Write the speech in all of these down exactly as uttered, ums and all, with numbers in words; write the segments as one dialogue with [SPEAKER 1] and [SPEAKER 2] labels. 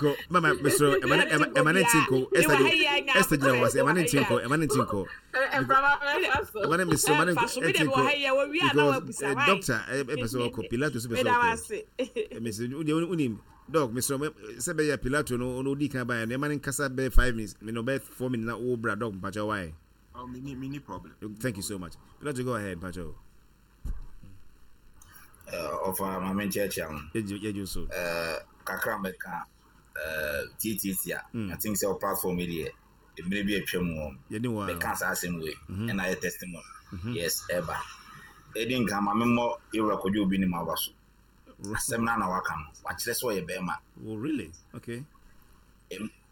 [SPEAKER 1] Nko mama mesro ɛma ne ɛma ne nti nko. Esther Esther gyina hɔ sɛ ɛma ne nti nko, ɛma ne nti nko. Ɛma ne mesro ɛma ne nti nko because doctor ɛpɛ sɛ ɔkɔ, Pilato so pɛ sɛ ɔkɔ. Mesro deɛ wonim doc, mesro sɛ bɛyɛ Pilato no ɔno odi kan baeɛ no, ɛma ne nkasa bɛyɛ five minutes me no bɛyɛ four minutes na wo bra. Doc, mpakyɛw, why?
[SPEAKER 2] Oh, me me problem.
[SPEAKER 1] Thank you so much. Pilato, go ahead, mpakyɛw.
[SPEAKER 3] Ɔfa maame nkyerɛkyerɛ ho.
[SPEAKER 1] Yɛgye so.
[SPEAKER 3] Kakra mɛka tietieti a, I think sɛ platform yi deɛ, mmerɛ bi atwa mu wɔ mɛka saa asɛm wei ɛna ayɛ testimony. Yes, ɛba ɛdi nka ma memmɔ yɛwura Kwadwo Obi ne mu aba so. Asɛm no na waka no, wakyerɛ sɛ ɔyɛ bɛrima.
[SPEAKER 1] Oh, really? Okay.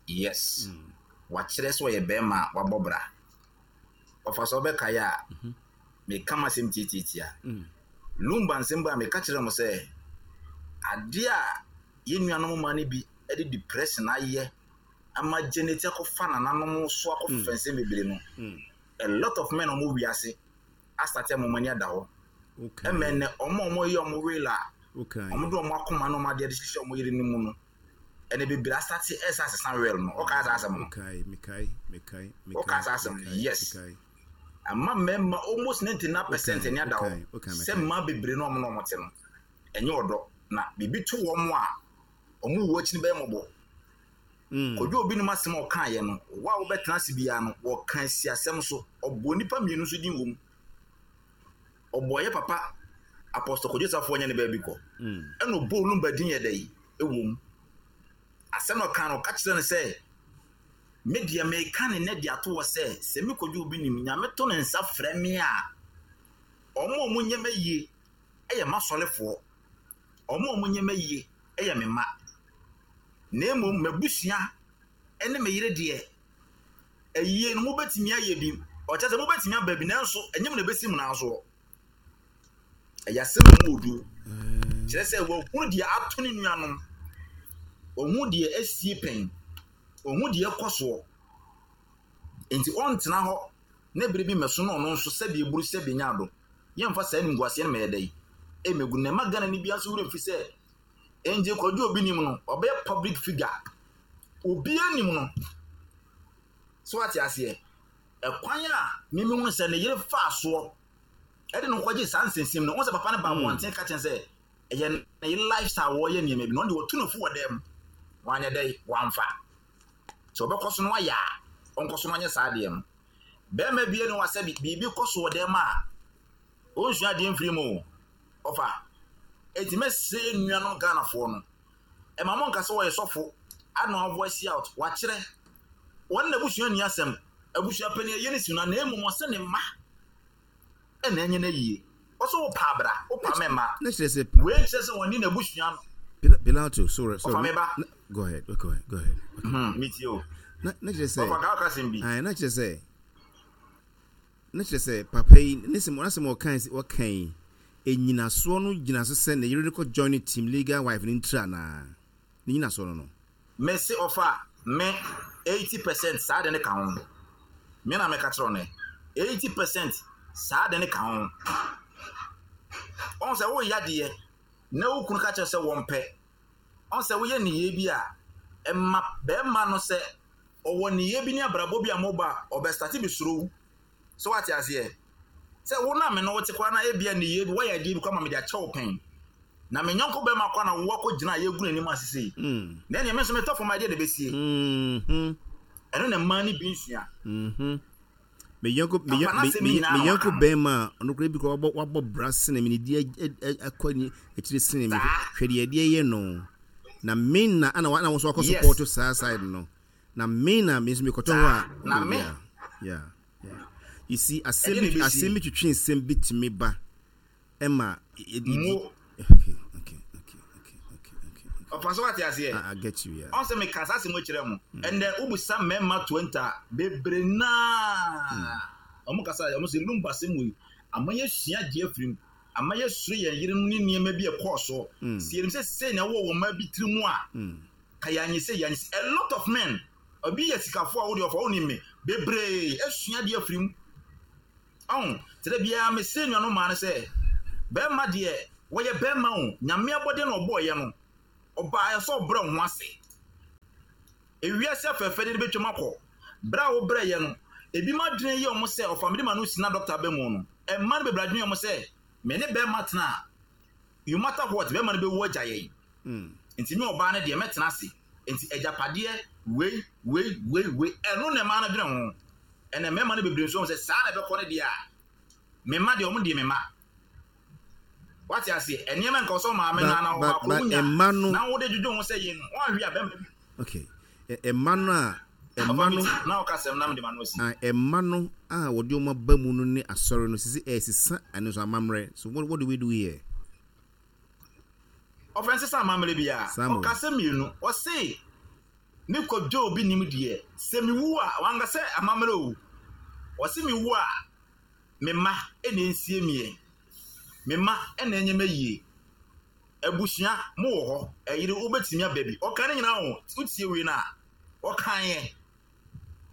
[SPEAKER 3] Yes, wakyerɛ sɛ ɔyɛ bɛrima a wabɔ bra. Ɔfa sɛ ɔbɛkaeɛ a, meka m asɛm tietieti a, Lumba nsɛm ba a, meka kyerɛ mo sɛ adeɛ a yɛn nuanom ma no bi de depression ayɛ ama generate akɔfa nananom so akɔfa nsɛm bebree no, a lot of men a wɔn wiase asate ama wɔn ani ada hɔ. Ɛmɛ nnɛ wɔn a wɔyɛ wɔn will a wɔn de wɔn akoma na wɔn adeɛ de hyehyɛ wɔn yere no mu no, ɛnna bebree asate ɛsɛ asesa will no. Ɔka asa asɛm no, ɔka asa asɛm no. Yes, ama mmarima almost ninety nine percent ani ada hɔ sɛ mmaa bebree na wɔn na wɔn te no ɛnyɛ ɔdɔ, na biribi to wɔn a wɔn wu akyi no bɛyɛ mmɔbɔ. Kwadwo Obi nim asɛm a ɔkaeɛ no, wo a wobɛtena ase biara no, wɔka si asɛm so. Ɔbɔ nnipa mmienu nso din wɔ mu. Ɔbɔ yɛ papa Apostle Kwadwo Safo nyɛ ne baabi kɔ, ɛna ɔbɔ Olumba din yɛ dɛ ɛwɔ mu. Asɛm na ɔka no, ɔka kyerɛ no sɛ, me deɛ meka ne nɛ de ato hɔ sɛ sɛ me Kwadwo Obi nim Nyame to ne nsa frɛ me a, ɔmo a ɔmo nyɛ ma yie ɛyɛ m'asɔrefoɔ, ɔmo a ɔmo nyɛ ma yie ɛyɛ me mma, na mmom m'abusua ne me yere deɛ, ayie no mobɛtumi ayɛ bi. Ɔkyɛ sɛ mobɛtumi aba bi, nanso ɛnyɛ mu na ɛbɛsi mu nan soɔ. Ɛyɛ asɛm a mu odu kyerɛ sɛ wahunu deɛ ato ne nuanom, wahu deɛ asie pɛn, wahu deɛ ɛkɔ soɔ, nti ɔntena hɔ na bere bi mmɛso na ɔno nso sɛdeɛ eburu sɛdeɛ nya ado. Yɛmfa saa animguaseɛ no mɛyɛ dɛ ɛmɛgu na ɛma Ghana ni bia nso werɛ mfi sɛ Angel Kwadwo Obi nim no, ɔbɛyɛ public figure, obiara nim no so. Ate aseɛ? Ɛkwan a mímí hu sɛ ne yere fa soɔ ɛde no kɔgye saa nsɛnsɛm no, wɔn sɛ papa no ba abɔnten ka kyɛn sɛ ɛyɛ ne yere lifestyle, wɔyɛ nneɛma bi na ɔno de wɔtu no fo wɔ dɛm, wɔanyɛ dɛ wɔamfa sɛ ɔbɛkɔ so no ayɛ a, ɔnkɔ so no anyɛ saa adeɛ no. Bɛrima bie no wasɛ biribi kɔ so wɔ dɛm a, ɔnsua adeɛ mfiri mu o. Ɔfa eti mɛsɛ nuanom Ghanafoɔ no, ɛma mo nka sɛ wɔyɛ sɔfo ana voice out. Wakyerɛ wɔn na abusua nni asɛm, abusua panyin ɛyɛ ne si no, na mmom ɔsɛ ne mma ɛna ɛnyɛ no yie. Ɔsɛ wopa abra wopa mɛma
[SPEAKER 1] Na kyerɛ sɛ
[SPEAKER 3] wei nkyerɛ sɛ wɔne n'abusua no.
[SPEAKER 1] Pilato, sorry, sorry.
[SPEAKER 3] Ɔfa me ba.
[SPEAKER 1] Go ahead, go ahead, go ahead.
[SPEAKER 3] Okay. Hmm, metie o.
[SPEAKER 1] Na na kyerɛ sɛ
[SPEAKER 3] ɔfa ka ɔka sɛm bi.
[SPEAKER 1] Ayi, na kyerɛ sɛ na kyerɛ sɛ papa yi ne sɛm ɔnasɛm ɔkan ɔkan yi, enyinasoɔ no gyina so sɛ ne yere no kɔ join team legal wife ne ntira naa ne nyinasoɔ no no.
[SPEAKER 3] Mese ɔfa me eighty percent saa de ne ka ho. Me na meka kyerɛ no eighty percent saa de ne ka ho. Ɔn sɛ woyɛ adeɛ na wo kunu ka kyerɛ sɛ wɔmpɛ, ɔn sɛ woyɛ nneyɛe bi a ɛma bɛrima no sɛ ɔwɔ nneyɛe bi ne abrabɔ bi a moba a, ɔbɛstart bi soro wo so. Wate aseɛ sɛ wo na me no wote koraa na ebia nneyɛe bi woayɛ adeɛ bi koraa ma mede akyɛ wo pɛn na me nyɔnko bɛrima kɔ na wo akɔ gyina a yɛgu n'anim ase sei, na ɛneɛ me nso metɔ fam adeɛ na ɛbɛsie. Ɛno na mmaa no bi nsua.
[SPEAKER 1] Me yɔnko me me yɔnko bɛrima a ɔno koraa bi koraa wabɔ wabɔ bra sene me ne di akɔ ni akyire sene me, hwɛ deɛ ɛdeɛ yɛ no na me na ana wa na wɔn nso akɔ support saa side no, na me na me nso mekɔtɔ hɔ a
[SPEAKER 3] na me
[SPEAKER 1] yeah yeah you see, asɛm bi asɛm bi twitwi nsɛm bi tumi ba ɛma
[SPEAKER 3] mo.
[SPEAKER 1] okay okay okay okay okay okay
[SPEAKER 3] Ɔfa so, wate aseɛ?
[SPEAKER 1] I, I get you, yeah.
[SPEAKER 3] Ɔn sɛ meka saa asɛm kyerɛ mo, ɛndɛ wobusa mmarima twenty a, bebree naa ɔmo kasa, ɔmo sɛ Lumba asɛm wei ama yɛsua adeɛ afiri mu, ama yɛsuro yɛn yerenom ne nneɛma bi ɛkɔɔ soɔ. Sɛ yɛnim sɛ sei na ɛwɔ wɔn mma bi tiri mu a, ka yɛanyɛ sɛ yɛanyɛ sɛ. A lot of men, obi yɛ sikafoɔ a wode ɔfa wonim me bebree asua adeɛ afiri mu. Ɔn te dɛ biara mese nuanom maa no sɛ bɛrima deɛ, wɔyɛ bɛrima o, Nyame abɔdeɛ na ɔbɔɔyɛ no, ɔbaa sɛ ɔbrɛ wo ho ase. Ewiase afɛɛfɛ de bɛtwam akɔ. Berɛ a wobrɛyɛ no, ebi ma adwene yɛ ɔmo sɛ ɔfa mede ma no si na doctor bɛ mu no. Ɛmma no bebree adwene yɛ ɔmo sɛ me ne bɛrima tena a, you matter what, bɛrima no bɛwu agya yɛn. Nti me ɔbaa no deɛ mɛtena ase. Nti agyapadeɛ wei wei wei wei ɛno na ɛmaa no dwene ho. Ɛnna mmarima no bebree nso sɛ saa na ɛbɛkɔ no deɛ a, me mma deɛ ɔmo deɛ me mma. Wate aseɛ, nneɛma nka ɔsɛ ɔmaame na na ɔbaako wonya na wode dwodwo ho sɛ yɛ no, wɔanhwe a bɛrima bi.
[SPEAKER 1] Okay. Ɛmma no a ɛmma no
[SPEAKER 3] na ɔka sɛm na mede ma no asi.
[SPEAKER 1] Ɛmma no a wɔde wɔn aba mu no ne asɔre no sisi ɛsesa ɛno nso amammerɛ. So what, what do we do here?
[SPEAKER 3] Ɔfɛn sesa amammerɛ bi a ɔka sɛ mmienu ɔse me kɔdwo obi nim deɛ sɛ mewu a wanka sɛ amammerɛ o. Ɔse mewu a me mma ɛna nsie miɛ. Me mma ɛna ɛnyɛ mɛ yie. Abusua mo wɔ hɔ ɛyere wobɛtumi aba bi. Ɔka ne nyinaa o wotie wei no a ɔka yɛ.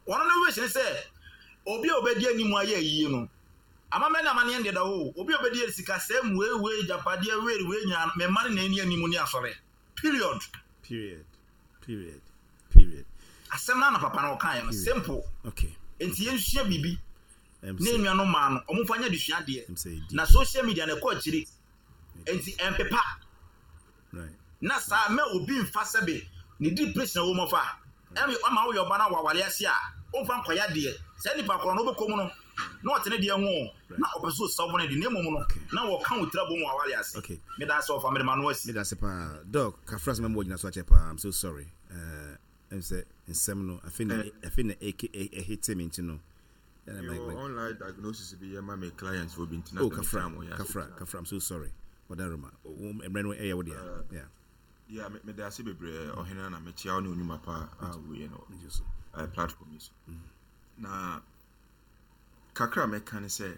[SPEAKER 3] Ɔno no wish ne sɛ obi a obɛdi anim ayɛ yie no amammerɛ ne amanneɛ deɛ da hɔ o. Obi a obɛdi sika sɛ wei wei gyapadeɛ wei wei nyinaa me mma no na ɛni anim ne asɔre. Period.
[SPEAKER 1] Period. Period. Period.
[SPEAKER 3] Asɛm no na papa no ɔka yɛ no simple.
[SPEAKER 1] Okay.
[SPEAKER 3] Nti yɛnsua biribi. Ne nua no maa no ɔmo fa nyɛ adesua deɛ. Na social media na ɛkɔ akyiri. Nti ɛmpepa.
[SPEAKER 1] Right.
[SPEAKER 3] Na saa mɛ obi mfa sɛbe ne depression wɔ mu fa. Ɛmi ɔma woyɛ ɔba na wawale ase a ɔmfa nkɔyɛ adeɛ. Saa nipa korɔ no wobɛkɔ mu no na ɔte ne deɛ ho na ɔpɛ so ɔsa bɔne de na mmom no na wɔka wo tira bɔ mu awale ase.
[SPEAKER 1] Okay.
[SPEAKER 3] Meda ase ɔfa mede ma no asi.
[SPEAKER 1] Meda ase paa. Doc, kafra sɛ mɛmɔ gyina so akyɛ paa. I'm so sorry. Uh, ɛm sɛ nsɛm no afei na afei na ɛhete me nti no.
[SPEAKER 2] Online diagnosis bi yɛ ma me clients for bi ntina.
[SPEAKER 1] Oh, kafra, kafra, kafra. I'm so sorry. Wadaroma. Mmerɛ no ɛyɛ wo deɛ. Yeah.
[SPEAKER 2] Yeah, me me ase bebree ɔhene na mekyia wo ne onwuma pa a woyɛ no platform yi so. Na kakra mɛka ne sɛ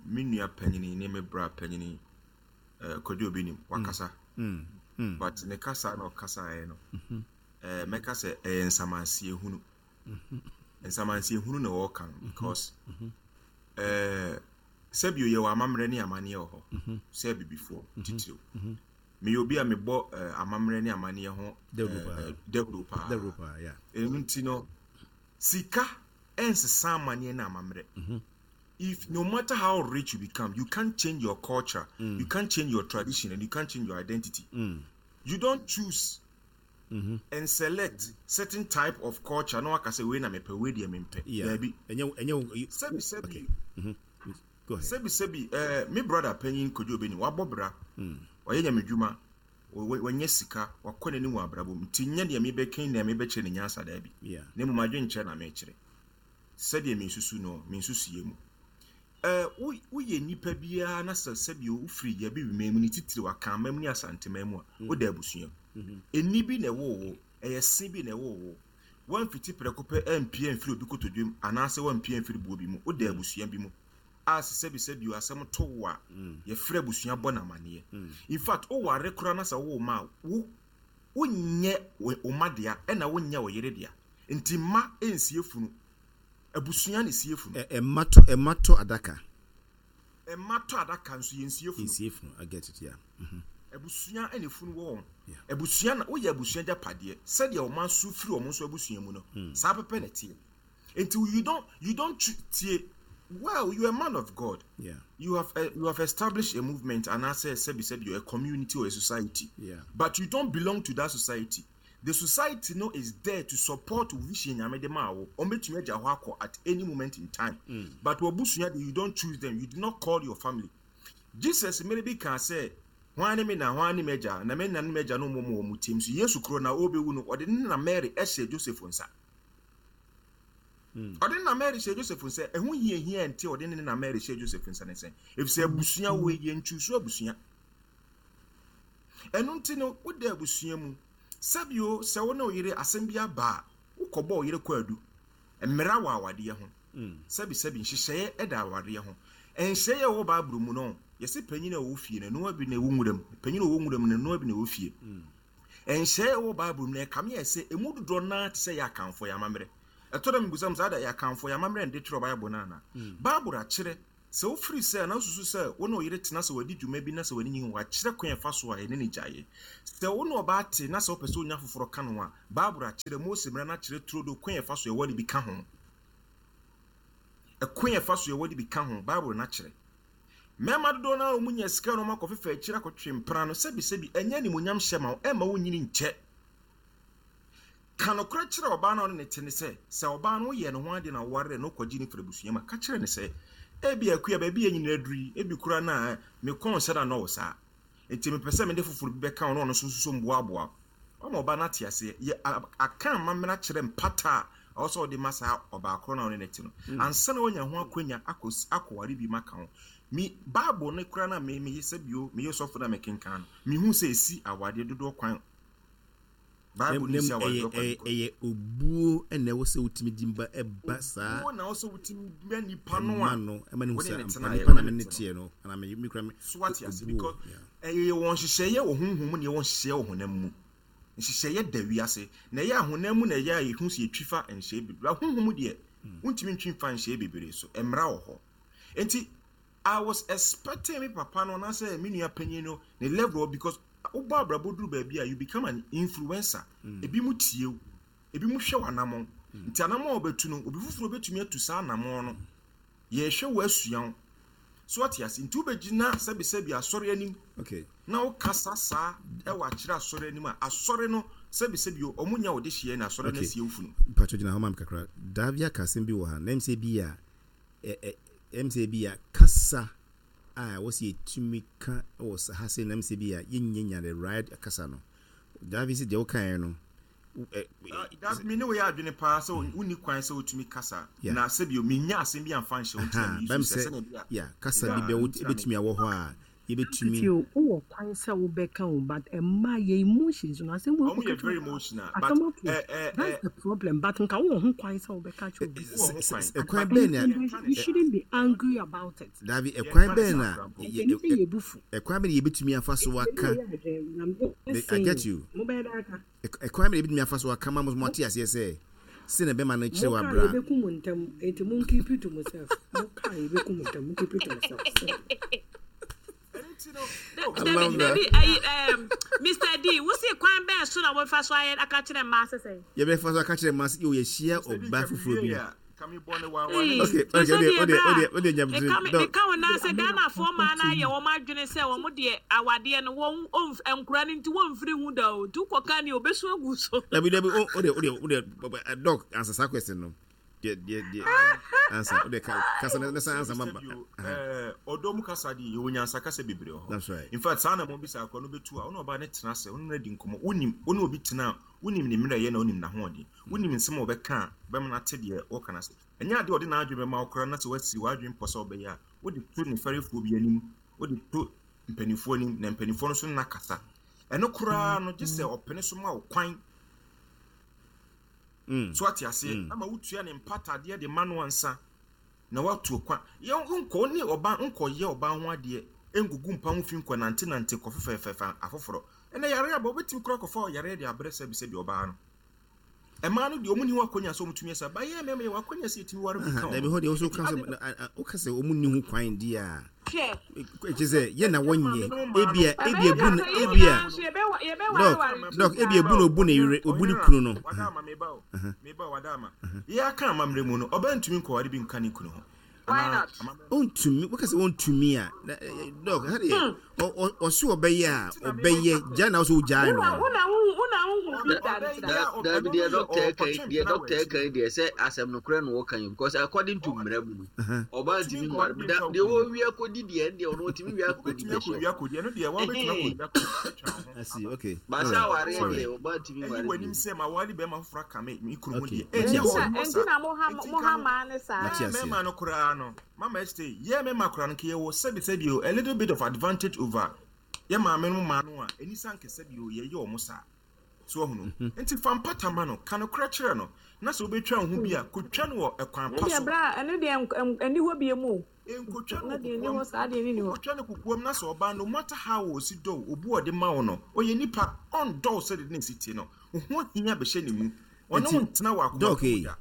[SPEAKER 2] me nua panyini ne me bra panyini Kwadwo Obi Nim wakasa. But ne kasa na ɔkasaeɛ no mɛka sɛ ɛyɛ nsamanseɛ hunu. Nsamanseɛ hunu na wɔka no because sɛbio yɛwɔ amammerɛ ne amanneɛ wɔ hɔ sɛ bibifoɔ titiriw. Meyɛ obi a mebɔ amammerɛ ne amanneɛ ho dawuro paa. Ɛno nti no sika ɛnsesa amanneɛ ne amammerɛ. If no matter how rich you become, you can't change your culture, mm. you can't change your tradition, and you can't change your identity.
[SPEAKER 1] Mm.
[SPEAKER 2] You don't choose
[SPEAKER 1] mm-hmm.
[SPEAKER 2] and select certain type of culture. No, I can say we na mepe we dey mempe.
[SPEAKER 1] Baby.
[SPEAKER 2] Sebi sebi.
[SPEAKER 1] Mm-hmm. Go ahead.
[SPEAKER 2] Sebi sebi. Eh, me brother penyin Kojo Beni wabɔ bra. Ɔyɛ nyamedwuma. Wɔnyɛ sika, wakɔ n'anim wɔ abrabɔ mu. Nti nyɛ deɛ mebɛka na mebɛkyerɛ ne nyansa da bi.
[SPEAKER 1] Yeah.
[SPEAKER 2] Na mmom adwenkyerɛ na mekyerɛ. Sɛdeɛ mensusu no, mensusu mu. Eh, woyɛ nipa biara na sɛ sɛbi wofiri yɛ bi mu ne titiri waka mu ne asantema mu a woda abusua. Eni bi na ɛwɔ wo, ɛyɛ se bi na ɛwɔ wo. Wɔmfiti prɛko pɛ ampie mfiri obi kotodwem anaasɛ wɔmpie mfiri buo bi mu. Woda abusua bi mu. A sɛ sɛbi sɛbi asɛm to wo a yɛfrɛ abusua bɔ n'amanneɛ. In fact, woware koraa na sɛ wowɔ ma wo wonyɛ wo ma dea ɛna wonyɛ wo yere dea. Nti mma nsie funu. Abusua ne sie funu.
[SPEAKER 1] Ɛmma to ɛmma to adaka.
[SPEAKER 2] Ɛmma to adaka nso yɛ nsie funu.
[SPEAKER 1] Nsie funu, I get it, yeah.
[SPEAKER 2] Abusua ɛna funu wɔ wɔn. Abusua na woyɛ abusua gyapadeɛ sɛdeɛ ɔma nso firi wɔn nso abusua mu no. Saa pɛpɛ na tie. Nti you don't you don't tie. Well, you are a man of God.
[SPEAKER 1] Yeah.
[SPEAKER 2] You have uh, you have established a movement and I say sebi sebi a community or a society.
[SPEAKER 1] Yeah.
[SPEAKER 2] But you don't belong to that society. The society no is there to support vision nyame de ma wo. Ombetumi agya hɔ akɔ at any moment in time.
[SPEAKER 1] Mm.
[SPEAKER 2] But wabusua you don't choose them. You do not call your family. Jesus maybe can say hwan ne me na hwan ne me agya na me na ne me agya no mo mo mo tim so Yesu kro na obewu no ɔde ne na Mary ɛhyɛ Joseph nsa. Ɔde na Mary hyɛ Joseph nsa. Ɛho hia hia nti ɔde ne na Mary hyɛ Joseph nsa ne sɛn. Efisɛ abusua wo yɛ ntwusu abusua. Ɛno nti no woda abusua mu. Sɛbio sɛ wo ne wo yere asɛm bi aba a wokɔbɔ wo yere kɔ adu. Mmara wɔ awadeɛ ho. Sɛbi sɛbi nhyehyɛeɛ ɛda awadeɛ ho. Nhyehyɛeɛ wɔ Bible mu no yɛsɛ panyin a ɔwɔ fie no noa bi na ɛwɔ nwura mu. Panyin a ɔwɔ nwura mu no noa bi na ɛwɔ fie. Nhyehyɛeɛ wɔ Bible mu no ɛkame yɛ sɛ emu dodoɔ naa te sɛ yɛ akamfo yɛ amammerɛ. Ɛtɔ da mebusam saa da yɛ akamfo yɛ amammerɛ nde twerɛ Bible no ana. Bible akyerɛ Sɛ wofiri sɛ na wosusu sɛ wo ne wo yere tena sɛ wadi dwuma bi na sɛ w'ani nyi ho, wakyerɛ kwan a ɛfa so a ɛne ne gyaeɛ. Sɛ wo ne ɔbaa te na sɛ wopɛ sɛ wonya foforɔ ka no a, Bible akyerɛ, Mose mmara no akyerɛ turodo kwan a ɛfa so ɛwɔ de bi ka ho. Ɛkwan a ɛfa so ɛwɔ de bi ka ho, Bible no akyerɛ. Mmarima dodoɔ no a wɔn nya sika na wɔn akɔfefa akyire akɔtwe mpena no, sɛbisɛbi ɛnyɛ animuonyam hyɛ ma wo, ɛmma wo nyini nkyɛ. Ka nokorɛ kyerɛ ɔbaa no a ɔne ne te ne sɛ, sɛ ɔbaa no woyɛ ne ho adeɛ na wowaree no wokɔgye no firi abusua mu a, ka kyerɛ no sɛ, ebi akua baabi a nyina aduru yi, ebi koraa na me kɔn sɛ na nɔwo saa. Nti mepɛ sɛ mede foforɔ bi bɛka wo na ɔno nso nso mboaboa wo. Ɔma ɔbaa no ate aseɛ. Yɛ aka amammerɛ akyerɛ mpata a ɔwɔ sɛ ɔde ma saa ɔbaa korɔ no a ɔne ne te no. Ansa na wanya ho akwanya akɔ akɔware bi ma ka ho. Mi Bible no koraa na me meyɛ sɛ bio meyɛ sɔfo na mekenkan no. Mehu sɛ esi awadeɛ dodoɔ kwan. Bible no si awadeɛ kwan.
[SPEAKER 1] Ɛyɛ obuo na ɛwɔ sɛ wotumi di mba ɛba saa.
[SPEAKER 2] Obuo na ɛwɔ sɛ wotumi ma nipa no a
[SPEAKER 1] no ɛma ne ho sɛ ampa nipa na me ne teɛ no ana me me kura me.
[SPEAKER 2] So ate ase because ɛyɛ wɔn nhyehyɛeɛ wɔ honhom mu na ɛwɔ nhyehyɛeɛ wɔ honam mu. Nhyehyɛeɛ da wiase na ɛyɛ ahonam mu na ɛyɛ a yɛhu sɛ yɛtwi fa nhyɛeɛ bebree. Honhom mu deɛ wontumi ntwi mfa nhyɛeɛ bebree so. Mmara wɔ hɔ. Nti I was expecting me papa no na sɛ me nua panyin no ne level because wobɔ abrabɔ duru baabi a you become an influencer. Ebi mu tie wo, ebi mu hwɛ w'anammɔn. Nti anammɔn a wobɛtu no, obi foforɔ bɛtumi atu saa anammɔn no. Yɛhwɛ wo asua wo. So ate ase. Nti wobɛgyina sɛbisɛbi asɔre anim.
[SPEAKER 1] Okay.
[SPEAKER 2] Na wokasa saa ɛwɔ akyerɛ asɔre anim a asɔre no sɛbisɛbi ɔmo nya wo de hyia na asɔre no asie wo funu.
[SPEAKER 1] Mpatwo gyina hɔ ma me kakra. Davia ka asɛm bi wɔ ha. Na ɛm sɛ bi a ɛm sɛ bi a kasa a wɔsi etumi ka wɔ ha sɛ na ɛm sɛ bi a yɛnyɛ nya the right kasa no. Davia sɛ deɛ wokaeɛ no
[SPEAKER 2] Davi me ne wo yɛ adwene paa sɛ wonni kwan sɛ wotumi kasa na sɛbi menya asɛm bi amfa nhyɛ wo ntina me yi so sɛ sɛnea bi a
[SPEAKER 1] yeah kasa bi bɛ wobɛtumi awɔ hɔ a yɛbɛtumi
[SPEAKER 4] wowɔ kwan sɛ wobɛka o but ɛma yɛ emotions no asɛm
[SPEAKER 2] wɔ ɔmo yɛ very emotional but
[SPEAKER 4] eh, eh, that's the problem but nka wowɔ ho kwan sɛ wobɛka kyerɛ obi
[SPEAKER 1] ɛkwan bɛn na
[SPEAKER 4] you shouldn't be angry about it.
[SPEAKER 1] Davi ɛkwan bɛn na ɛkwan bɛn na yɛbɛtumi afa so aka I get you ɛkwan bɛn na yɛbɛtumi afa so aka ma mo ate aseɛ sɛ sɛ na bɛma no kyerɛ wɔ abra
[SPEAKER 4] mo ka yɛbɛku mo ntɛm enti mo keep it to myself mo ka yɛbɛku mo ntɛm mo keep it to myself.
[SPEAKER 5] Dabi dabi ayi um, Mister D, wosi kwan bɛn so na wɔfa so ayɛ aka kyerɛ mmaa sɛsɛ?
[SPEAKER 1] Yɛbɛfa so aka kyerɛ mmaa sɛ yɛ yɛhyia ɔbaa foforɔ bi. Okay, okay, ode ode ode ode nyamtiri.
[SPEAKER 5] Meka wo na sɛ Ghanafoɔ maa no ayɛ wɔn adwene sɛ wɔn deɛ awadeɛ no wɔn nkura no nti wɔmfiri ho da o. Nti wokɔka ne obesu agu so.
[SPEAKER 1] Dabi dabi ode ode ode doc answer saa question no. Deɛ deɛ deɛ ansa ode kasa na sa ansa ma.
[SPEAKER 2] Eh ɔdɔ mu kasa de yɛwɔ nyansa kasa bebree wɔ hɔ.
[SPEAKER 1] That's right.
[SPEAKER 2] In fact saa na mo bisa akɔ no betu a ɔno ɔbaa ne tena ase ɔno na di nkɔmmɔ wonim ɔne obi tena a wonim ne mmerɛ yɛ na wonim n'ahoɔden wonim nsɛm a ɔbɛka a bɛma no ate deɛ wɔka no ase ɛnyɛ adeɛ ɔde n'adwene bɛma wo koraa na sɛ wasi w'adwene pɔ sɛ ɔbɛyɛ a wode to ne fɛrefoɔ bi anim wode to mpanimfoɔ anim na mpanimfoɔ no nso nna kasa ɛno koraa no gye sɛ ɔpene so ma wo kwan so ate aseɛ ama wotua ne mpatadeɛ de ma no ansa na watu kwan yɛ nkɔ ne ɔba nkɔyɛ ɔba ho adeɛ ngugu mpa ho fi nkɔ nante nante kɔ fɛfɛɛfɛ afoforɔ ɛnna yare aba wobɛtumi kora kɔfa yare de abrɛ sɛbi sɛbi ɔbaa no ɛmaa no deɛ ɔmo ni ho akɔnya sɛ ɔmo tumi ɛsɛ ba yɛ mɛma yɛ wɔ akɔnya sɛ yɛtumi ware bi ka
[SPEAKER 1] dabi hɔ deɛ ɔso ka sɛ woka sɛ ɔmo ni ho kwan di a kyerɛ sɛ yɛ na wɔnyɛ ebia ebia bu no ebia dɔk dɔk ebia bu na obu ne yere obu ne kunu no
[SPEAKER 2] wadaama meba o meba wadaama yɛ aka amammerɛ mu no ɔbaa ntumi nkɔware bi nka ne kunu ho.
[SPEAKER 5] Why not?
[SPEAKER 1] Ontumi woka sɛ ontumi a dɔk ha deɛ ɔso ɔbɛyɛ a ɔbɛyɛ gya na ɔso ogyae no.
[SPEAKER 6] Dabi deɛ dɔkta ɛka yi deɛ dɔkta ɛka yi deɛ sɛ asɛm no korɛ na wɔka yi because according to mmerɛ mu no ɔbaa ntumi nware da deɛ wɔwi akɔdi deɛ ɛn deɛ ɔno ɔtumi wi akɔdi
[SPEAKER 2] bɛ so.
[SPEAKER 1] I okay.
[SPEAKER 6] Baasa awareɛ deɛ ɔbaa ntumi nware.
[SPEAKER 2] Ɛyi wɔ anim sɛ ma wɔre bɛrima foforɔ aka me me kunu ho deɛ.
[SPEAKER 5] Ɛnti na mo ha mo ha maa ne saa.
[SPEAKER 2] Mɛma no koraa no mama ɛsɛ yɛ mɛma koraa no kɛ yɛwɔ sɛbi sɛbi o a little bit of advantage over yɛ maame no maa no a ɛni san kɛ sɛbi o yɛyɛ ɔmo saa so ɔhono nti fa mpata ma no ka no korɛ kyerɛ no na sɛ wobɛtwa wo ho bi a kotwa no wɔ ɛkwan pa so.
[SPEAKER 5] Ɛno deɛ ɛni hɔ bie mu o.
[SPEAKER 2] Nkotwa no kokoam nkotwa no kokoam na sɛ ɔbaa no matter how ɔsi dɔw obu ɔde ma wo no ɔyɛ nipa ɔndɔw sɛ de ne si tie no ho hia bɛhyɛ ne mu ɔne wo ntena wɔ akoma mu da.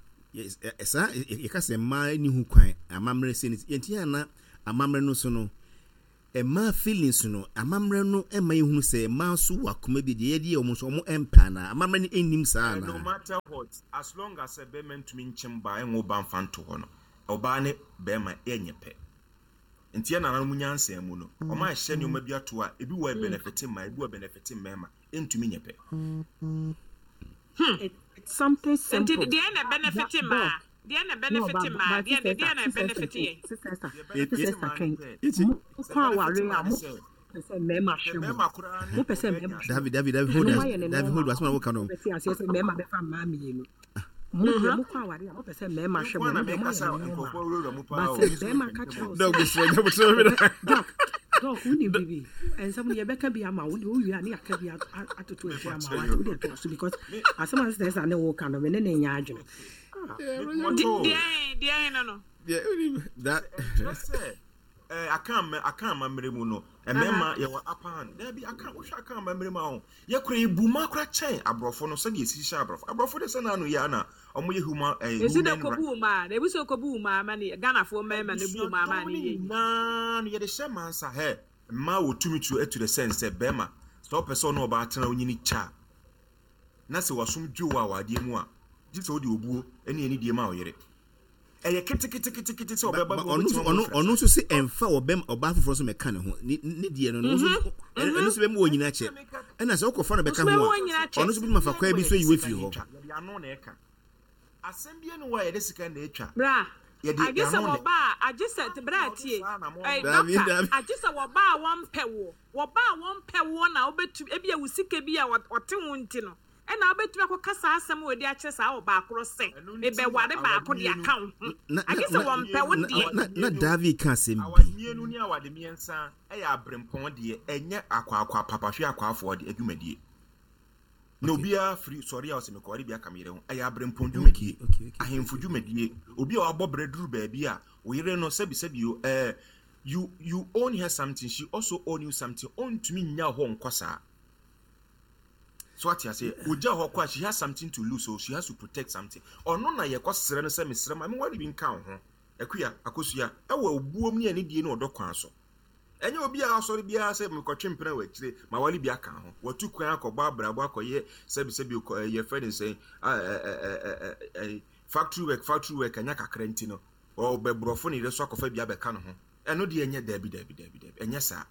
[SPEAKER 1] Saa yɛka sɛ mmaa ni ho kwan amammerɛ sɛ yɛnti yɛ ana Amammerɛ no so no, mmaa feelings no, amammerɛ no ɛma yɛhunu sɛ mmaa nso wɔ akoma bi deɛ yɛde yɛ ɔmo nso ɔmo ɛmpa anaa? Amammerɛ no ɛnnim saa
[SPEAKER 2] Eh, no
[SPEAKER 1] anaa?
[SPEAKER 2] Matter what, as long as sɛ bɛrima ntumi nkyɛm baa ɛnwo ba mfa nto hɔ no, ɔbaa ne bɛrima ɛnyɛ pɛ. Nti yɛ nananom nyansa mu no, ɔma ahyɛ nneɛma bi ato a ebi wɔ benefit mmaa, ebi wɔ benefit mmarima, ɛntumi nyɛ pɛ.
[SPEAKER 4] It, it's something
[SPEAKER 5] Nti
[SPEAKER 4] simple.
[SPEAKER 5] deɛ na benefit mmaa, deɛ na
[SPEAKER 4] No,
[SPEAKER 5] benefit
[SPEAKER 4] but
[SPEAKER 5] mmaa,
[SPEAKER 4] but
[SPEAKER 5] deɛ
[SPEAKER 4] sister,
[SPEAKER 5] deɛ na
[SPEAKER 4] sister,
[SPEAKER 5] benefit yɛn?
[SPEAKER 4] Sister,
[SPEAKER 2] Deɛ
[SPEAKER 4] sister,
[SPEAKER 2] benefit
[SPEAKER 4] sister,
[SPEAKER 2] mmaa ne
[SPEAKER 4] twɛn.
[SPEAKER 2] sɛ
[SPEAKER 1] Eti
[SPEAKER 4] Mo
[SPEAKER 2] sɛ
[SPEAKER 4] kɔ
[SPEAKER 2] benefit
[SPEAKER 4] aware
[SPEAKER 2] mmaa
[SPEAKER 4] a
[SPEAKER 2] ne
[SPEAKER 4] mo
[SPEAKER 2] sɛ
[SPEAKER 4] pɛ sɛ mmarima
[SPEAKER 2] sɛ
[SPEAKER 4] hwɛ mo.
[SPEAKER 2] mmarima koraa ne
[SPEAKER 4] Mo pɛ sɛ
[SPEAKER 2] ɔbaa
[SPEAKER 4] mmarima
[SPEAKER 2] nya
[SPEAKER 4] hwɛ
[SPEAKER 1] David
[SPEAKER 4] mo.
[SPEAKER 1] David David, hold
[SPEAKER 4] Ɛno
[SPEAKER 1] on.
[SPEAKER 4] moayɛ ne
[SPEAKER 1] David, hold
[SPEAKER 4] normal.
[SPEAKER 1] on. Asɛm a woka no.
[SPEAKER 4] Bɛte aseɛ sɛ mmarima bɛfa mmaa mmienu. Mo deɛ, mokɔ aware a, mopɛ sɛ mmarima
[SPEAKER 2] Me
[SPEAKER 4] hwɛ
[SPEAKER 2] nko
[SPEAKER 4] mo.
[SPEAKER 2] ara na
[SPEAKER 4] Ɛno deɛ
[SPEAKER 2] meka
[SPEAKER 4] moayɛ
[SPEAKER 2] sɛ
[SPEAKER 4] ne normal.
[SPEAKER 2] nkurɔfoɔ wurawura mu
[SPEAKER 4] But
[SPEAKER 2] paa o,
[SPEAKER 4] sɛ
[SPEAKER 2] me nso
[SPEAKER 4] bɛrima
[SPEAKER 2] mepɛ
[SPEAKER 4] ka
[SPEAKER 2] ntɛm
[SPEAKER 4] kyerɛ
[SPEAKER 2] o.
[SPEAKER 4] wo
[SPEAKER 1] Dɔg
[SPEAKER 4] sɛ
[SPEAKER 1] mesrɛ nya botrɛ mi
[SPEAKER 4] ɔbɛ
[SPEAKER 1] na.
[SPEAKER 4] Doc, Doc, wonim bibi ɛnsɛm no yɛbɛka bi ama wo deɛ, wowie a ne yɛaka bi ato- a- atoto akyi ama wo ate. Wode toa so because
[SPEAKER 2] Me
[SPEAKER 4] asɛm a sɛ sɛ ne woka no, me ne ne nyɛ adwene.
[SPEAKER 2] me mɔtɔ o.
[SPEAKER 5] Deɛ deɛ no no.
[SPEAKER 1] Yeah, that
[SPEAKER 2] Ɛnkyerɛ sɛ ɛɛ aka ama aka amammerɛ mu no, mmarima yɛwɔ upper hand. Daabi, aka wohwɛ aka amammerɛ mu a, ho yɛkora ebu ma kora kyɛn aborɔfo no sɛdeɛ esi hyehyɛ aborɔfo. Aborɔfo de sɛ n'ano yɛ ana ɔmo yɛ human ɛɛ
[SPEAKER 5] Esi dɛ
[SPEAKER 2] human right.
[SPEAKER 5] kobu wo maa na ebi sɛ kobu wo maa ma ne Ghanafoɔ mmarima na ebu wo maa ma
[SPEAKER 2] Abusuadɔm
[SPEAKER 5] ne
[SPEAKER 2] ne
[SPEAKER 5] yɛ yi.
[SPEAKER 2] nyinaa no yɛde hyɛ mansa hɛ mmaa wɔ tumi tu to the sense sɛ bɛrima sɛ ɔpɛ sɛ ɔne ɔbaa tena onyini kyɛ a, na sɛ wasom dwo wɔ awadeɛ mu a, gye sɛ wode obuo ne anidie ma wo yere. Ɛyɛ keteketekete sɛ
[SPEAKER 1] Ba
[SPEAKER 2] ɔbɛba
[SPEAKER 1] ba
[SPEAKER 2] bi
[SPEAKER 1] ɔno nso
[SPEAKER 2] ɔbɛtumi
[SPEAKER 1] ɔno
[SPEAKER 2] ama
[SPEAKER 1] ɔno nso sɛ ɛmfa ɔbɛm ɔbaa foforɔ so mɛka ne ho ne ne deɛ no no nso ɛno ɛno nso bɛmu wɔ nyinaa kyɛ, ɛna sɛ wokɔfa no bɛka
[SPEAKER 5] Nso
[SPEAKER 1] ho
[SPEAKER 5] bɛmu
[SPEAKER 1] a,
[SPEAKER 5] wɔ nyinaa kyɛ.
[SPEAKER 1] ɔno nso bɛtumi afa kwan bi so ayi wo afiri hɔ.
[SPEAKER 2] Yɛde ano na ɛka asɛm bi ne wɔ a yɛde sika na ɛtwa.
[SPEAKER 5] Bra,
[SPEAKER 2] Yɛde
[SPEAKER 5] agye sɛ
[SPEAKER 2] ano na
[SPEAKER 5] wɔba a, agye sɛ bra tie ɛy
[SPEAKER 1] Dabi,
[SPEAKER 5] doctor,
[SPEAKER 1] dabi.
[SPEAKER 5] Agye sɛ wɔba a wɔmpɛ wo, wɔba a wɔmpɛ wo na wobɛtumi ebi a wo sika bi a wɔ- ɔte ho nti no, ɛna wobɛtumi akɔka saa asɛm wɔ de akyerɛ saa ɔbaa korɔ sɛ
[SPEAKER 2] Ɛno nti na
[SPEAKER 5] mebɛware baako de
[SPEAKER 2] awadeɛ no
[SPEAKER 5] aka wo ho.
[SPEAKER 1] Na
[SPEAKER 5] Agye
[SPEAKER 1] na
[SPEAKER 5] sɛ
[SPEAKER 1] na
[SPEAKER 5] wɔmpɛ wo
[SPEAKER 1] na
[SPEAKER 5] deɛ.
[SPEAKER 1] na na David ka asɛm
[SPEAKER 2] awade
[SPEAKER 1] bi.
[SPEAKER 2] Mmienu ne awade mmiɛnsa ɛyɛ aberempɔn deɛ, ɛnyɛ akwaakwa papahwe akwaafoɔ de adwumadie na obiara firi sɔre a ɔsɛ mekɔware bi aka me yere ho. Ɛyɛ aberempɔn dwumadie,
[SPEAKER 1] okay okay okay
[SPEAKER 2] ahemfo dwumadie, obi a wabɔ brɛ duru baabi a oyere no sɛbisɛbi o, ɛɛ you you own her something, she also own you something. Ɔntumi nya hɔ nkɔ saa so, ate ase? Ogya hɔ kɔ a, she has something to lose, so she has to protect something. Ɔno na yɛkɔ srɛ no sɛ mesrɛ ma meware bi nka wo ho. Akua Akosua, ɛwɔ obuom ne anidie ne ɔdɔ kwan so. Ɛnyɛ obi a asɔre biara sɛ mekɔtwe mpena wɔ akyire ma wale bi aka ho, watu kwan akɔbɔ abrabɔ akɔyɛ sɛbisɛbi kɔ- ɛɛ, yɛfrɛ ne sɛn, ɛ, ɛ, ɛ, ɛ, ɛ, ɛ, factory work factory work ɛnyɛ kakra nti no ɔbɛborɔfo ne yere so akɔfa bi abɛka ne ho. Ɛno deɛ ɛnyɛ, daabi, daabi, daabi, daabi, ɛnyɛ saa,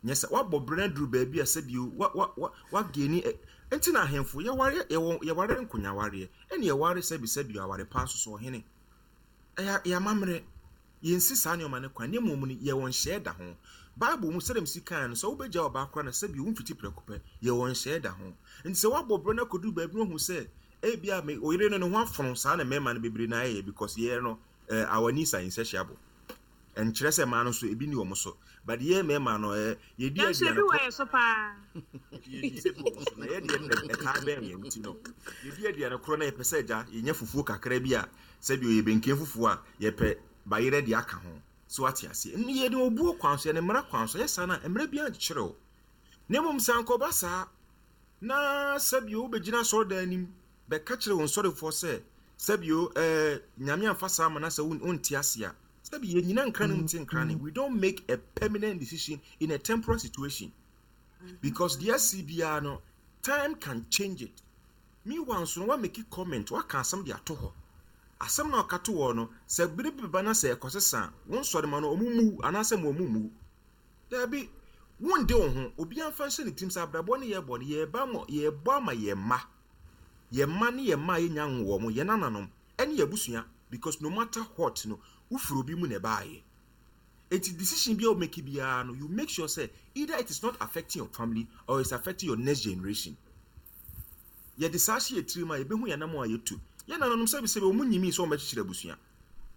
[SPEAKER 2] nyɛ sɛ wabɔ brɛ no duru baabi a sɛbio wa wa wa wageni ɛ. Nti na ahemfo yɛware, yɛwɔ yɛware nkonyawareɛ, ɛne yɛware sɛbisɛbi aware paa soso ɔhene. Ɛyɛ ɛyɛ amammerɛ, yɛnsi saa nneɛma no kwan, ne mmom no yɛwɔ nhyɛɛ da ho. Bible mu sɛdeɛ msi kan no, sɛ wobɛgya ɔbaa koraa na sɛbi womfiti prɛko pɛ, yɛwɔ nhyɛɛ da ho. Nti sɛ woabɔ brɛ no akɔduru baabi no, wahu sɛ ebia me oyere no ne ho afono saa na mmarima no bebree na ayɛyɛ because yɛn no eh, our needs are insatiable. Ɛnkyerɛ sɛ mmaa no nso ebi ni wɔn so, but yɛn mmarima no eh, yɛdi
[SPEAKER 5] Nanso
[SPEAKER 2] aduane
[SPEAKER 5] ebi wɔ
[SPEAKER 2] korɔ
[SPEAKER 5] yɛ so paa.
[SPEAKER 2] Yɛdi sɛ bi wɔ so na yɛdeɛ no na ɛtaa bɛn yɛn nti no, yɛdi aduane korɔ na yɛpɛ sɛ agya yɛnya fufuo kakra bi a sɛbi ɔyɛ benken fufuo a yɛpɛ bayerɛ de aka ho so, ate aseɛ? Ɛno yɛde obuo kwan so, yɛde mmara kwan so yɛ saa na mmara bi ankyerɛ wo. Na mmom sɛ ankɔba saa na sɛbio wobɛgyina asɔredan anim bɛka kyerɛ wo nsɔrefoɔ sɛ sɛbio ɛɛ Nyame amfa saa ma na sɛ won- wonte ase a, sɛbi yɛnyina nkra no nte nkra ne. We don't make a permanent decision in a temporary situation because deɛ asi biara no, time can change it. Meanwhile nso no, wa make comment, waka asɛm de ato hɔ. Asɛm na ɔka to hɔ no, sɛ bere bi ba na sɛ ɛkɔsesa a, wo nsɔre ma no ɔmo mu anaasɛ ma ɔmo mu daabi, wonde wo ho. Obiara mfa nhyɛ ne tirim sɛ abrabɔ ne yɛbɔ no, yɛba ma yɛbɔ ama yɛn mma, yɛn mma ne yɛn mma a yɛnya nwo wɔn, yɛn nananom ɛne yɛn abusua, because no matter what no, wofiri obi mu na ɛbaayɛ. Eti decision bi a wo make biara no, you make sure say either it is not affecting your family or it's affecting your next generation. Yɛde saa hyɛ yɛ tirim a, yɛbɛhu yɛn nam a yɛtu. Yɛn nananom, sɛbi sɛbi, wɔn nyimi sɛ wɔn bɛkyekyere abusua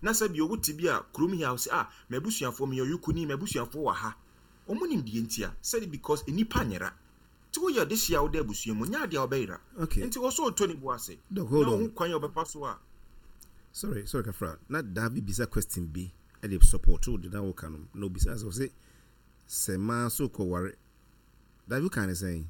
[SPEAKER 2] na sɛbi owo te bi a kurom yi a wɔsɛ ah, m'abusuafoɔ, meyɛ ɔyɔkoni, m'abusuafoɔ wɔ ha, wɔn nim deɛ ntia sɛde because nipa nyera nti woyɛ ɔde hyia a wode abusua mu nyɛ adeɛ a wɔbɛyera.
[SPEAKER 1] Okay.
[SPEAKER 2] Nti wɔ so ɔtɔ ne bu ase
[SPEAKER 1] Doc,
[SPEAKER 2] na
[SPEAKER 1] hold on.
[SPEAKER 2] ɔho kwan a ɔbɛfa so a.
[SPEAKER 1] Sorry, sorry kafra, na David bisa question bi ɛde support wo de na woka no na obisa sɛ ɔsɛ sɛ mmaa so kɔware. David ka ne sɛn?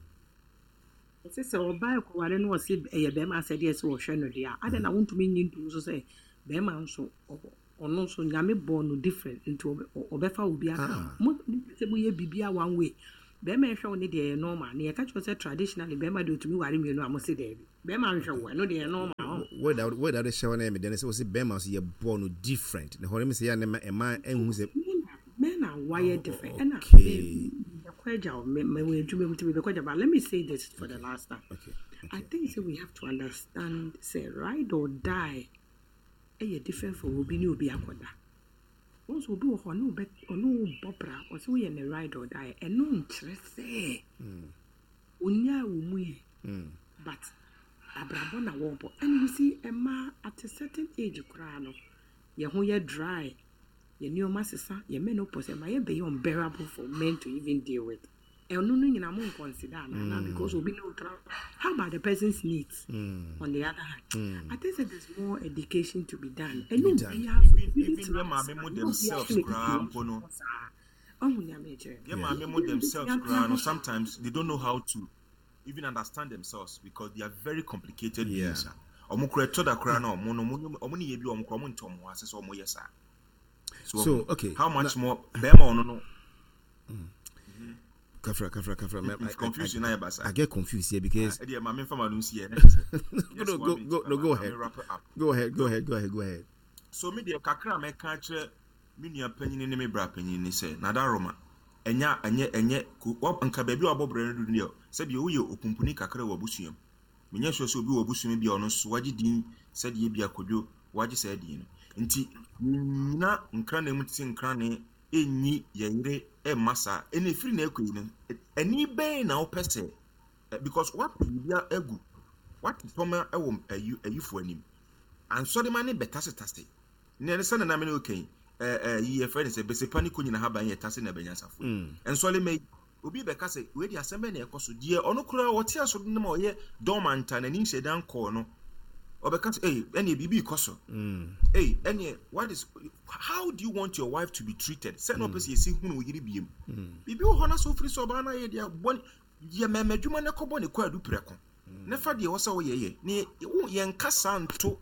[SPEAKER 4] Ɛsɛ sɛ ɔbaa ɛkɔware no, ɔse ɛyɛ bɛrima asɛdeɛ sɛ ɔhwɛ no deɛ a, adɛn na wontumi nyi ntom so sɛ bɛrima nso ɔwɔ Ɔno nso Nyame bɔɔ no different nti ɔbɛfa obi aka. Mo sɛ moyɛ biribiara one way. Bɛrima ɛhwɛ wo ne deɛ ɛyɛ normal. Ne yɛka kyerɛ sɛ traditionally bɛrima deɛ otumi ware mmienu a mo se daabi. Bɛrima nhwɛ wo ɛno deɛ ɛyɛ normal.
[SPEAKER 1] Word a word a wode hyɛ hɔ no yɛ me dɛ ne sɛ wo se bɛrima nso yɛbɔɔ no different. Na hɔ no me sɛ yɛ a ne ɛma ɛnhu sɛ
[SPEAKER 4] men are wired different. Ɛna
[SPEAKER 1] Okay.
[SPEAKER 4] mebɛkɔ agya wo me me wɔ adwuma mu nti mebɛkɔ agya but let me say this for the last time.
[SPEAKER 1] Okay.
[SPEAKER 4] I think say we have to understand say ride or die ɛyɛ different from obi ne obi akɔda. Wɔn nso obi wɔ hɔ ɔne wo ɔne wo bɔ bra ɔsɛ woyɛ ne ride or die ɛno nkyerɛ sɛ onyaa wo mu yɛ but abrabɔ na wɔbɔ and you see mmaa at a certain age koraa no yɛn ho yɛ dry yɛn nneɛma sesa yɛn menopause ɛma yɛ bɛyɛ unbearable for men to even deal with ɛno no nyinaa mo nconsider ana because obi ne wo tra how about the person's needs mm. on the other hand mm. I think that there's more education to be done ɛnyɛ obiara so
[SPEAKER 2] even even yɛ maame mo themselves koraa mpo no
[SPEAKER 4] ɔhu nea mekyerɛ
[SPEAKER 2] yɛ maame mo themselves koraa no sometimes they don't know how to even understand themselves because they are very complicated
[SPEAKER 1] Yeah.
[SPEAKER 2] beings a ɔmo kora ɛtɔ da koraa na ɔmo no ɔmo ɔmo ne yɛ bi ɔmo kora ɔmo ntɔ ɔmo ho ase sɛ ɔmo yɛ saa
[SPEAKER 1] So,
[SPEAKER 2] so
[SPEAKER 1] okay.
[SPEAKER 2] how much more bɛrima ɔno no
[SPEAKER 1] Kafra, kafra, kafra. I, I,
[SPEAKER 2] confusion
[SPEAKER 1] I,
[SPEAKER 2] na yɛ basa
[SPEAKER 1] I get confused here because
[SPEAKER 2] ɛdeɛ maame nfa ma no nsi yɛ ne kyɛ
[SPEAKER 1] no, go, go, no, go ahead.
[SPEAKER 2] wrap it up
[SPEAKER 1] Go ahead, go ahead, go ahead, go ahead.
[SPEAKER 2] so me deɛ kakra a mɛka akyerɛ me nua panyin ne me bra panyin ne sɛ nada roma ɛnya ɛnyɛ ɛnyɛ ko wa nka baabi a wabɔ brɛ no do deɛ sɛdeɛ woyɛ opumpuni kakra wɔ abusua mu menyɛ sure sɛ obi wɔ abusua mu bi a ɔno nso wagye din sɛdeɛ bi akodwo wagye saa din no nti nyina nkranne mu te sɛ nkranne ɛnyi yɛ yere ɛmma saa ɛna ɛfiri na ɛkɔ yi no ɛni bɛn na wopɛ sɛ ɛ, because wapɛ biribi agu wate tɔma ɛwɔ ayi ayifoɔ anim ansɔrema ne bɛtasetase ne ɛne sɛ nana me ne okay ɛɛ ɛɛ yi yɛfrɛ ne sɛ besepa ne ko nyina haban yɛ tase na ɛbɛnyansafo nsɔrema yi obi bɛka sɛ wei de asɛm bɛn na ɛkɔ so deɛ ɔno koraa ɔte aso no ma ɔyɛ dormant a n'anim hyɛ dan kɔɔ no ɔbɛka sɛ ɛy ɛneɛ biribi kɔ so ɛy ɛneɛ what is how do you want your wife to be treated sɛ na ɔpɛ sɛ yɛsi hunu wo yere biem biribi wɔ hɔ na sɛ ofiri sɛ ɔbaa no ayɛ deɛ bɔ yɛ mɛmɛ adwuma no kɔbɔ ne kɔ adu prɛko ne fa deɛ ɛwɔ sɛ woyɛ yɛ ne wo yɛnka saa nto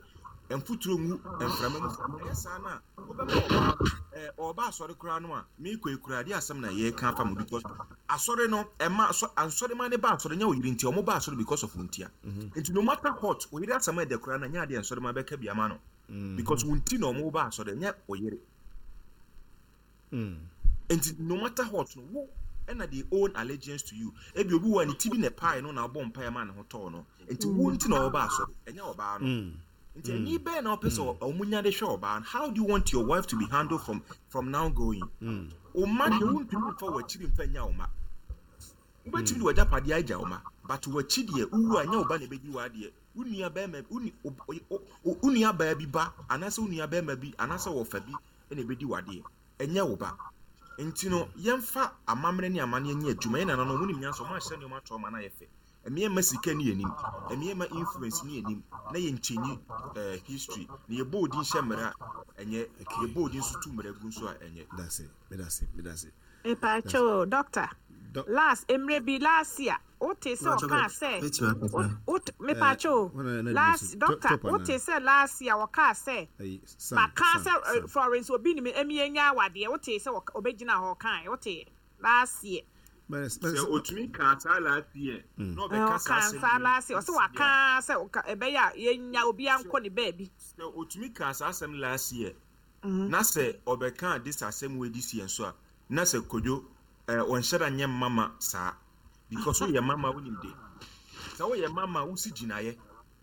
[SPEAKER 2] mfuturo ngu mframa mu ɛyɛ saa no a wobɛma ɔbaa ɛɛ ɔba asɔre koraa no a meekɔ yi koraa deɛ asɛm na yɛreka afa mu because asɔre no ɛma asɔ ansɔre ma ne ba asɔre nyɛ wo yere nti ɔmo ba asɔre because of wo ntia nti no matter what wo yere asɛm a ɛdɛ koraa no nyɛ adeɛ nsɔre ma bɛka bi ama no because wo nti na ɔmo ba asɔre nyɛ wo yere nti no matter what no wo ɛna they own allegiance to you ebi obi wɔ ne ti bi na ɛpae no na ɔbɔ mpaeɛ ma ne ho tɔɔ no nti wo nti na ɔba asɔre ɛnyɛ ɔbaa no nti ɛni bɛn na ɔpɛ sɛ ɔmo nya de hwɛ ɔbaa no how do you want your wife to be handled from from now going ɔma deɛ wontumi mfa w'akyiri mfa nya ɔma wobɛtumi de w'agyapadeɛ agya ɔma but w'akyi deɛ wowu a nyɛ ɔba na ɛbɛdi w'adeɛ wo nua bɛrima wo ni- wo- wo wo nua baa bi ba anaasɛ wo nua bɛrima bi anaasɛ wɔfa bi ɛna ɛbɛdi w'adeɛ ɛnyɛ wo ba nti no yɛmfa amammerɛ ne amanneɛ nyɛ adwuma yɛn nananom wɔn nim nyansa wɔn ahyɛ nneɛma ato ɔma no ayɛ fɛ ɛmeɛ sika ne yɛnim ɛmeɛ ma influence ne yɛnim na yɛnkyɛnyi ɛɛ history na yɛbɔ odin hyɛ mmerɛ a ɛnyɛ yɛbɔ odin nso tu mmerɛ gu nso a ɛnyɛ
[SPEAKER 1] That's it. That's it. That's it.
[SPEAKER 5] Mepakyɛw doctor
[SPEAKER 1] Doc-
[SPEAKER 5] last mmerɛ bi last year wote sɛ
[SPEAKER 7] Mepakyɛw,
[SPEAKER 5] ɔkaa sɛ
[SPEAKER 7] bɛtumi akasa.
[SPEAKER 5] wo- wote- mepakyɛw
[SPEAKER 1] wɔn na- na
[SPEAKER 5] last
[SPEAKER 1] di so.
[SPEAKER 5] doctor
[SPEAKER 1] Top- top
[SPEAKER 5] wote
[SPEAKER 1] anaa?
[SPEAKER 5] sɛ last year wɔkaa sɛ
[SPEAKER 1] Ayi, Sam,
[SPEAKER 5] maka
[SPEAKER 1] Sam,
[SPEAKER 5] sɛ eh,
[SPEAKER 1] Sam.
[SPEAKER 5] Florence obi nim emi enya awadeɛ wote sɛ wɔka- obɛgyina hɔ ɔkae wote last year
[SPEAKER 1] But, but,
[SPEAKER 2] sɛ otumi kaa saa last year na
[SPEAKER 5] Eh,
[SPEAKER 2] ɔbɛka saa
[SPEAKER 5] ɔkaa
[SPEAKER 2] asɛm
[SPEAKER 5] saa
[SPEAKER 2] yi
[SPEAKER 5] last year ɔsɛ
[SPEAKER 2] this year.
[SPEAKER 5] waka sɛ ɔka- ɛbɛyɛ a yɛnya obiara nkɔ ne baabi
[SPEAKER 2] sɛ otumi kaa saa asɛm last year na sɛ ɔbɛka this asɛm wei this year nso a na sɛ kodwo ɛɛ ɔnhyɛ da nyɛ mama saa because woyɛ mama wonim de sɛ woyɛ mama wosi gyinaeɛ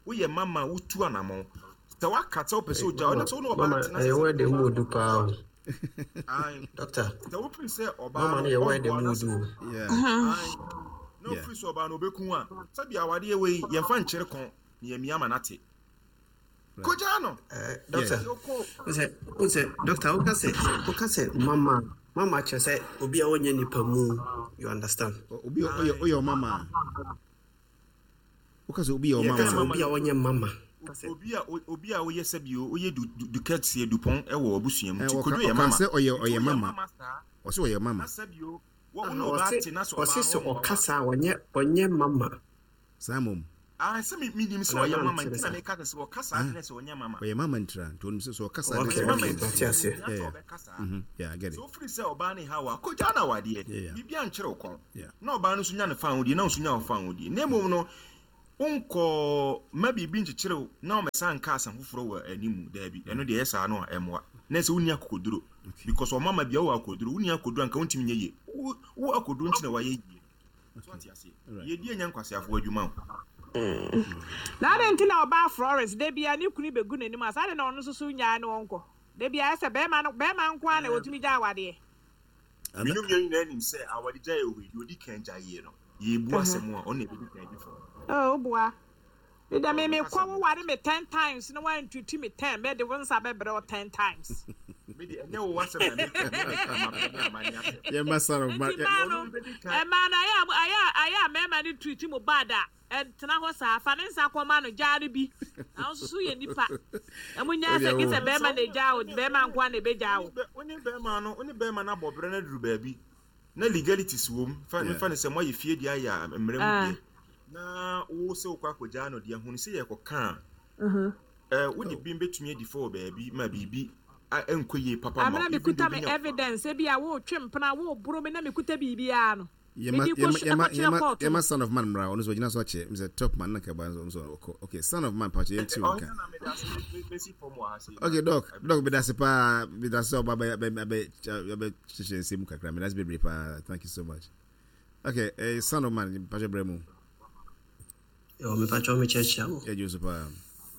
[SPEAKER 2] woyɛ mama wotu anammɔn sɛ woaka sɛ wopɛ sɛ ogya ɔno sɛ wo ne ɔbaa
[SPEAKER 7] Mama,
[SPEAKER 2] tena
[SPEAKER 7] ɛyɛ
[SPEAKER 2] sɛ
[SPEAKER 7] word mu odu paa o.
[SPEAKER 2] Ae.
[SPEAKER 7] Doctor,
[SPEAKER 2] sɛ wopere sɛ ɔbaa
[SPEAKER 7] mama
[SPEAKER 2] no
[SPEAKER 7] no yɛ word
[SPEAKER 2] ɔmboa
[SPEAKER 7] mu
[SPEAKER 2] na
[SPEAKER 7] odu
[SPEAKER 2] sɛ
[SPEAKER 7] o.
[SPEAKER 1] yeah.
[SPEAKER 2] Ae. na
[SPEAKER 1] Yeah.
[SPEAKER 2] wofiri sɛ ɔbaa no ɔbɛku a sɛbi awadeɛ wei yɛmfa nkyere kɔn na yɛmia ma nate kogyaa no
[SPEAKER 7] Eh, Doctor,
[SPEAKER 2] Nti wokɔ
[SPEAKER 7] wosɛ wosɛ doctor woka sɛ woka sɛ mama mama kyerɛ sɛ obi a ɔnyɛ nipa mu you understand.
[SPEAKER 1] Obi oyɛ oyɛ ɔmama. Woka sɛ obi yɛ
[SPEAKER 7] Yɛka sɛ
[SPEAKER 1] ɔmama.
[SPEAKER 7] obi a ɔnyɛ mama.
[SPEAKER 2] obi a obi a woyɛ sɛbi woyɛ du du dukɛteɛ dupɔn ɛwɔ abusua mu
[SPEAKER 1] Eh,
[SPEAKER 2] nti
[SPEAKER 1] wɔka
[SPEAKER 2] kodwo yɛ
[SPEAKER 1] ɔka
[SPEAKER 2] mama
[SPEAKER 1] sɛ ɔyɛ
[SPEAKER 2] nti
[SPEAKER 1] ɔyɛ
[SPEAKER 2] woyɛ
[SPEAKER 1] mama.
[SPEAKER 2] mama saa
[SPEAKER 1] Ɔsɛ ɔyɛ mama.
[SPEAKER 2] na sɛbi o wo wo ne ɔbaa
[SPEAKER 7] Ɔse
[SPEAKER 2] te na sɛ
[SPEAKER 7] ɔse
[SPEAKER 2] ɔbaa
[SPEAKER 7] sɛ
[SPEAKER 2] no ɔmmoa wo
[SPEAKER 7] ɔka
[SPEAKER 2] a
[SPEAKER 7] saa ɔnyɛ ɔnyɛ mama.
[SPEAKER 1] Saa mmom.
[SPEAKER 2] Ah, sɛ me menim sɛ
[SPEAKER 7] Anaa
[SPEAKER 2] ɔyɛ mama
[SPEAKER 7] mankyerɛ
[SPEAKER 2] nti na
[SPEAKER 7] saa.
[SPEAKER 2] meka sɛ sɛ ɔka saa de na sɛ ɔnyɛ mama.
[SPEAKER 1] Ɔyɛ mama ntira nti onim sɛ sɛ ɔka saa de
[SPEAKER 7] Okay,
[SPEAKER 1] sɛ
[SPEAKER 2] Ɔyɛ mama
[SPEAKER 7] okay,
[SPEAKER 2] nti
[SPEAKER 7] mate aseɛ.
[SPEAKER 2] ohia
[SPEAKER 1] Yeah,
[SPEAKER 2] sɛ
[SPEAKER 1] yeah.
[SPEAKER 2] ɔbɛka saa.
[SPEAKER 1] Mm-hmm. Yeah, I get
[SPEAKER 2] Sɛ
[SPEAKER 1] it.
[SPEAKER 2] wofiri sɛ ɔbaa ne haw a, kɔgyaa no awadeɛ.
[SPEAKER 1] Yeah, yeah.
[SPEAKER 2] Biribi ankyerɛ wo kɔn.
[SPEAKER 1] Yeah.
[SPEAKER 2] Na ɔbaa no nso nya ne fa ahodie na wo nso nya wo fa ahodie. Na mmom no, wonkɔ ma biribi nkyekyere wo na ɔmɛsa nka asɛm foforɔ wɔ animu. Daabi, ɛno deɛ ɛyɛ saa no a ɛmmoa. Na sɛ wonni akokoduro. Because ɔmama bia wowɔ akokoduro, wonni akokoduro anka wontumi nyɛ yie. Wo wo akokoduro nti na wayɛ yie. So ate aseɛ.
[SPEAKER 1] Right.
[SPEAKER 2] Yɛdi anya nkwaseafoɔ adwuma o.
[SPEAKER 5] Na adɛn nti na ɔbaa Florence da bia ne kunu bɛgu n'anim a saa de na ɔno nso so nyaa ne ɔnkɔ da bia ɛsɛ bɛrima no bɛrima nko ara na wɔtumi gya awadeɛ.
[SPEAKER 2] Menu mmienu nyinaa nim sɛ awadegya yɛ wɔ deɛ ɔdi kan gya yie no. Yɛbu asɛm a ɔno na ɛbɛdi kan di fam.
[SPEAKER 5] Oh, boa. Me da me me
[SPEAKER 2] Ɔno
[SPEAKER 5] kɔ
[SPEAKER 2] kasa
[SPEAKER 5] wo ware me ten times na wantutu me ten mɛ de wo nsa bɛbrɛ wo ten times.
[SPEAKER 2] Me de ɛnyɛ wo asɛm na meka, me meka mapɛ ne amanne asɛm.
[SPEAKER 1] Yeah, my son of man.
[SPEAKER 5] Nti maa no
[SPEAKER 2] Ɔno bɛdi kan.
[SPEAKER 5] ɛmaa no ayɛ a ayɛ a ayɛ a mɛɛma no treat mu bad a ɛntena hɔ saa fa ne nsa kɔma no gyaa no bi na wo nso so yɛ nipa na mo nyaa sɛ gye sɛ bɛrima na egyaa wo, bɛrima nko ara na ebegyaa wo.
[SPEAKER 2] Wo ne bɛrima no, wo ne bɛrima no abɔ berɛ no aduru baabi na legalities wɔ mu. Fa
[SPEAKER 1] Yeah.
[SPEAKER 2] fa ne sɛ moayɛ fie deɛ ayɛ a mmerɛ mu
[SPEAKER 5] Ah.
[SPEAKER 2] deɛ na wo sɛ wokɔ akɔgyaa no deɛ hunu sɛ yɛkɔka a eh, wode bi bɛtumi adi fɔ wɔ baabi ma biribi a- ɛnkɔ yie papa ma
[SPEAKER 5] Amena
[SPEAKER 2] wo. Even though
[SPEAKER 5] mekuta me
[SPEAKER 2] wobɛnya-
[SPEAKER 5] evidence ebi a wotwe mpena woboro me na mekuta biribiara no.
[SPEAKER 1] Yɛma
[SPEAKER 5] Mede kɔ
[SPEAKER 1] yɛma
[SPEAKER 5] su-
[SPEAKER 1] yɛma
[SPEAKER 5] ɛkɔkyerɛ
[SPEAKER 1] yɛma
[SPEAKER 5] court
[SPEAKER 1] yɛma
[SPEAKER 5] no.
[SPEAKER 1] Son of Man mmra ɔno nso ɔgyina so akyɛ sɛ top man na kaba nso nso ɔkɔ. Okay, Son of Man pakyɛ yɛnti wo
[SPEAKER 2] Ɔhene
[SPEAKER 1] nka.
[SPEAKER 2] na mede ase me- mesi fam wɔ ha sei.
[SPEAKER 1] Okay, doc, doc meda ase paa, meda ase sɛ ɔba bɛ bɛ bɛ bɛ hyehyɛ nsɛm mu kakra. Meda ase bebree paa. Thank you so much. Okay, eh, Son of Man pakyɛ brɛ mu.
[SPEAKER 7] Yo, mepakyɛw mekyerɛkyerɛ mo.
[SPEAKER 1] Yɛgye wo so paa.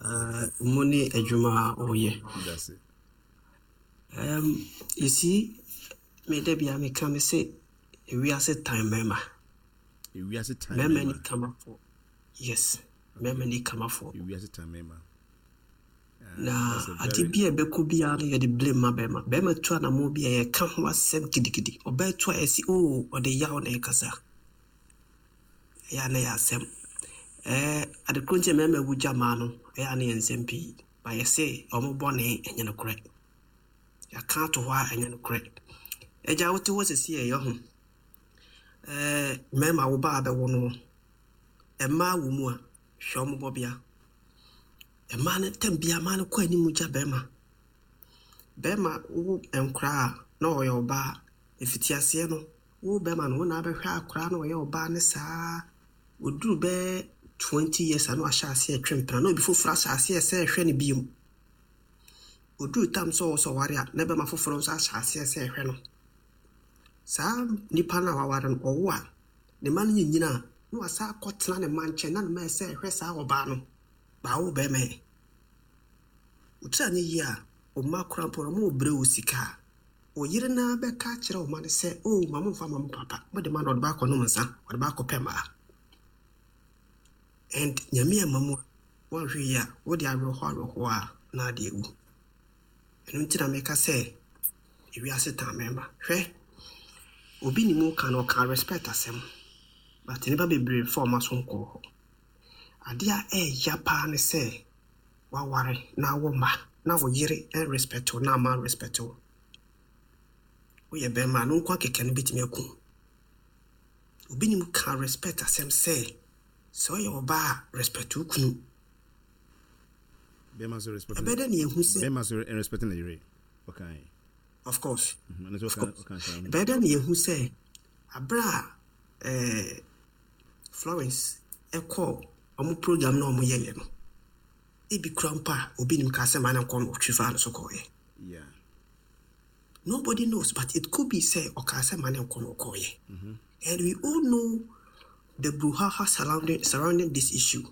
[SPEAKER 7] Uh, mo ne adwuma a ɔyɛ.
[SPEAKER 1] Meda ase.
[SPEAKER 7] Um, you see, me da bia meka me sɛ ewiase tan mmarima.
[SPEAKER 1] Ewiase tan
[SPEAKER 7] Mmarima ni
[SPEAKER 1] mmarima.
[SPEAKER 7] kamafoɔ. Yes, mmarima ni kamafoɔ.
[SPEAKER 1] Ewiase tan mmarima.
[SPEAKER 7] Na
[SPEAKER 1] That's a
[SPEAKER 7] ade
[SPEAKER 1] very
[SPEAKER 7] bi a ɛbɛkɔ biara no yɛde blame ma bɛrima. Bɛrima tu anammɔ bi a yɛka ho asɛm gidigidi. Ɔbaa tu a yɛsi o ɔde yaw na ɛkasa. Ɛyɛ a na yɛ asɛm. Ɛɛ ade koro nti a mmarima wu gya mmaa no ɛyɛ a na yɛ nsɛm pii. Ba yɛse ɔmo bɔne ɛnyɛ nokorɛ. Yɛaka ato hɔ a ɛnyɛ nokorɛ. Agya wote hɔ sisi ɛyɛ ho. Ɛɛ mmarima wo ba abɛwo no mmaa wɔ mu a hwɛ ɔmo bɔbea. Mmaa no tam bia mmaa no kɔ anim gya bɛrima. Bɛrima wo nkoraa a na ɔyɛ ɔbaa efitiaseɛ no wo bɛrima no wo na abɛhwɛ akoraa na ɔyɛ ɔbaa ne saa oduru bɛɛ twenty years a na wahyɛ aseɛ twe mpena na obi foforɔ ahyɛ aseɛ sɛ ɛhwɛ no bio. Oduru tam sɛ ɔwɔ sɛ ɔware a na bɛrima foforɔ nso ahyɛ aseɛ sɛ ɛhwɛ no. Saa nipa no a waware no ɔwo a ne mma no nyinyin a na wasa akɔtena ne mma nkyɛn na ne mma sɛ ɛhwɛ saa ɔbaa no baawo bɛrima yɛ. Wotiri anyɛ yie a ɔmma koraa mpo no ɔmo brɛ wo sika a ɔyere naa bɛka akyerɛ ɔma no sɛ o ma momfa ma mo papa mode ma no ɔde baakɔ nom nsa ɔde baakɔ pɛ mmaa. And Nyame amma mu a woanhwɛ yie a wode awerɛhoɔ awerɛhoɔ a na ade awu. Ɛno nti na meka sɛ ewiase tan mmarima. Hwɛ obi ne mu ka no ɔka respect asɛm but nnipa bebree fa ɔma so nkɔɔ hɔ. Adeɛ a ɛɛya paa ne sɛ waware na awo mma na wo yere ɛnrespect wo na ama respect wo. Woyɛ bɛrima a no nko akeka no bɛtumi aku wo. Obi nim ka respect asɛm sɛ sɛ ɔyɛ ɔbaa a respect wo kunu.
[SPEAKER 1] Bɛrima nso respect.
[SPEAKER 7] Ɛbɛyɛ dɛ ne yɛhu sɛ
[SPEAKER 1] Bɛrima nso respect ne yere. Ɔkan.
[SPEAKER 7] Of course.
[SPEAKER 1] Mhm, ɛno nso
[SPEAKER 7] Of
[SPEAKER 1] ɔka
[SPEAKER 7] course.
[SPEAKER 1] ɔka saa.
[SPEAKER 7] Ɛbɛyɛ dɛ ne yɛhu sɛ aberɛ a ɛɛ Florence ɛkɔɔ ɔmo program na ɔmo yɛyɛ no ebi kura mpo a obi nim ka sɛ maa ne nkɔ no ɔtwi faa no so kɔɔyɛ.
[SPEAKER 1] Yeah.
[SPEAKER 7] Nobody knows, but it could be sɛ ɔkaa sɛ maa ne nkɔ no ɔkɔɔyɛ. And we all know the brouhaha surrounding surrounding this issue.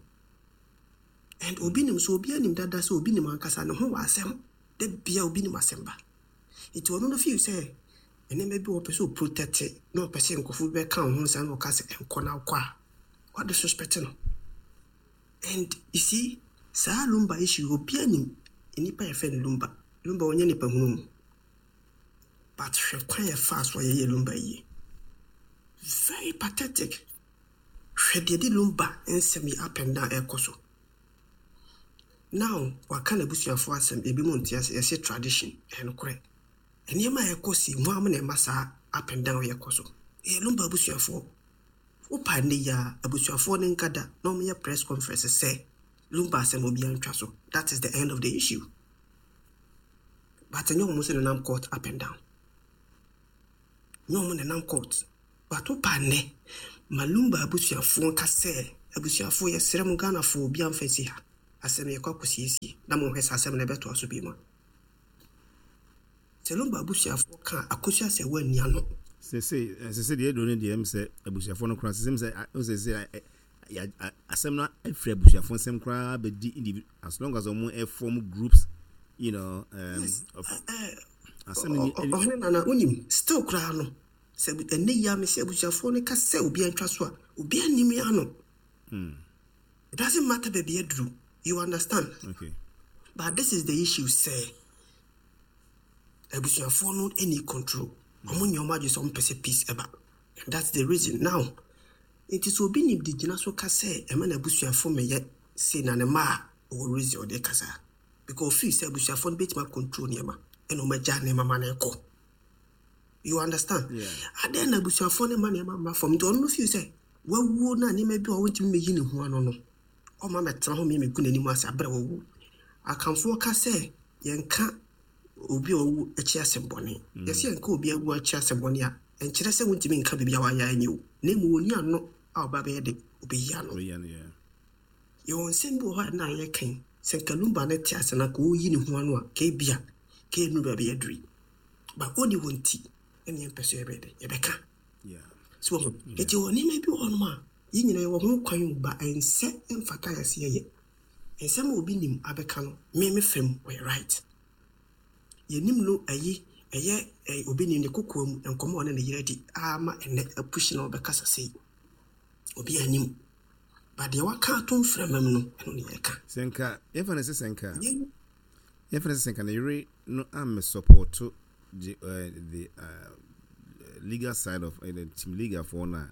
[SPEAKER 7] And obi nim so obi anim dada sɛ obi nim ankasa ne ho wɔ asɛm da bia obi nim asɛm ba. Nti ɔno no feel sɛ nneɛma bi wɔ ɔpɛ sɛ ɔprotect na ɔpɛ sɛ nkurɔfoɔ bi bɛka wo ho nsa na ɔka sɛ ɛnkɔ na wokɔ a wɔde suspect no. And you see, saa Lumba issue obi anim nnipa yɛfrɛ no Lumba. Lumba ɔnyɛ nipa hunu mu. But hwɛ kwan yɛfaa so a yɛyɛ Lumba yie. Very pathetic. Hwɛ deɛ de Lumba nsɛm yi up and down ɛrekɔ so. Now, waka n'abusuafoɔ asɛm ebi mu nte ase yɛsɛ tradition ɛyɛ nokorɛ. Nneɛma a ɛkɔ si ho am na ɛma saa up and down yɛkɔ so. Ɛyɛ Lumba abusuafoɔ. Wopa nnɛ yi a, abusuafoɔ no nka da na ɔmoyɛ press conference sɛ Lumba asɛm obiara ntwa so. That is the end of the issue. But ɛnyɛ ɔmo sɛ nenam court up and down. Nyɛ ɔmo nenam court. But wopa nnɛ, ma Lumba abusuafoɔ nka sɛ, abusuafoɔ, yɛsrɛ mo, Ghanafoɔ, obiara mfa nsi ha. Asɛm yɛkɔ akɔsiesie na monhwɛ sɛ asɛm no ɛbɛtoa so bi mu a. Sɛ Lumba abusuafoɔ ka a, Akosua sɛ woanni ano.
[SPEAKER 1] Sese sese deɛ ɛduro no deɛ, ɛm sɛ abusuafoɔ no koraa sese sɛ sɛ sɛ asɛm no afiri abusuafoɔ nsɛm koraa bɛdi individual, as long as ɔmo form groups you know um,
[SPEAKER 7] Yes.
[SPEAKER 1] of
[SPEAKER 7] Eh,
[SPEAKER 1] asɛm no ni.
[SPEAKER 7] Ɔhene Nana, wonim, still koraa no, sɛ ɛnɛ yi a mesɛ abusuafoɔ no ka sɛ obiara ntwa so a, obiara nnim ano. It doesn't matter baabi aduru. You understand?
[SPEAKER 1] Okay.
[SPEAKER 7] But this is the issue sɛ abusuafoɔ no any control. Ɔmo nyɛ ɔmo adwene sɛ ɔmo pɛ sɛ peace ɛba. And that's the reason. Now, nti sɛ obi nim de gyina so ka sɛ ɛma n'abusuafoɔ mɛyɛ sei na ne mma a, ɔwɔ reason ɔde kasa. Because ofii sɛ abusuafoɔ no bɛtumi control nneɛma ɛna ɔmo agya nneɛma ma no ɛkɔ. You understand?
[SPEAKER 1] Yeah.
[SPEAKER 7] Adɛn na abusuafoɔ no ma nneɛma mma fam? Nti ɔno no feel sɛ wawuo na nneɛma bi a ɔntumi mɛyi ne ho ano no, ɔma mɛtena hɔ mɛmɛgu n'anim ase abrɛ wawu. Akamfoɔ ka sɛ yɛnka obi a ɔwu akyi asɛm bɔne. Yɛsɛ yɛnka obi awu akyi asɛm bɔne a, ɛnkyerɛ sɛ wontumi nka biribi a wayɛ anyɛ o. Na mmom ɔni ano a ɔba bɛyɛ de ɔbɛyi ano.
[SPEAKER 1] Oh, yeah, yeah.
[SPEAKER 7] Yɛwɔ nsɛm bi wɔ hɔ a na yɛka yi, sɛ nka Lumba no te ase na nka ɔyi ne ho ano a, ka ebia ka ɛnuru baabi aduru yi. But ɔni hɔ nti ɛne yɛmpɛ so yɛbɛyɛ dɛ yɛbɛka.
[SPEAKER 1] Yeah.
[SPEAKER 7] So wɔn nti wɔ nneɛma bi wɔ hɔnom a yɛn nyinaa yɛwɔ ho kwan o, ba ɛnsɛ ɛmfata yɛ sɛ yɛyɛ nsɛm a obi nim abɛka no. Me me fam, ɔyɛ right. Yɛnim no ɛyi ɛyɛ ɛyɛ obi nim ne kokoa mu nkɔmɔ a ɔne ne yere di ama ɛnɛ apushi na ɔbɛkasa sei, obi anim ba deɛ waka ato mframa mu no, ɛno ne yɛka.
[SPEAKER 1] Sɛ nka yɛmfa no sɛ sɛ nka
[SPEAKER 7] Yɛn
[SPEAKER 1] yɛmfa no sɛ sɛ nka ne yere no ammɛ support the uh, the uh, legal side of uh, the team legal for no a,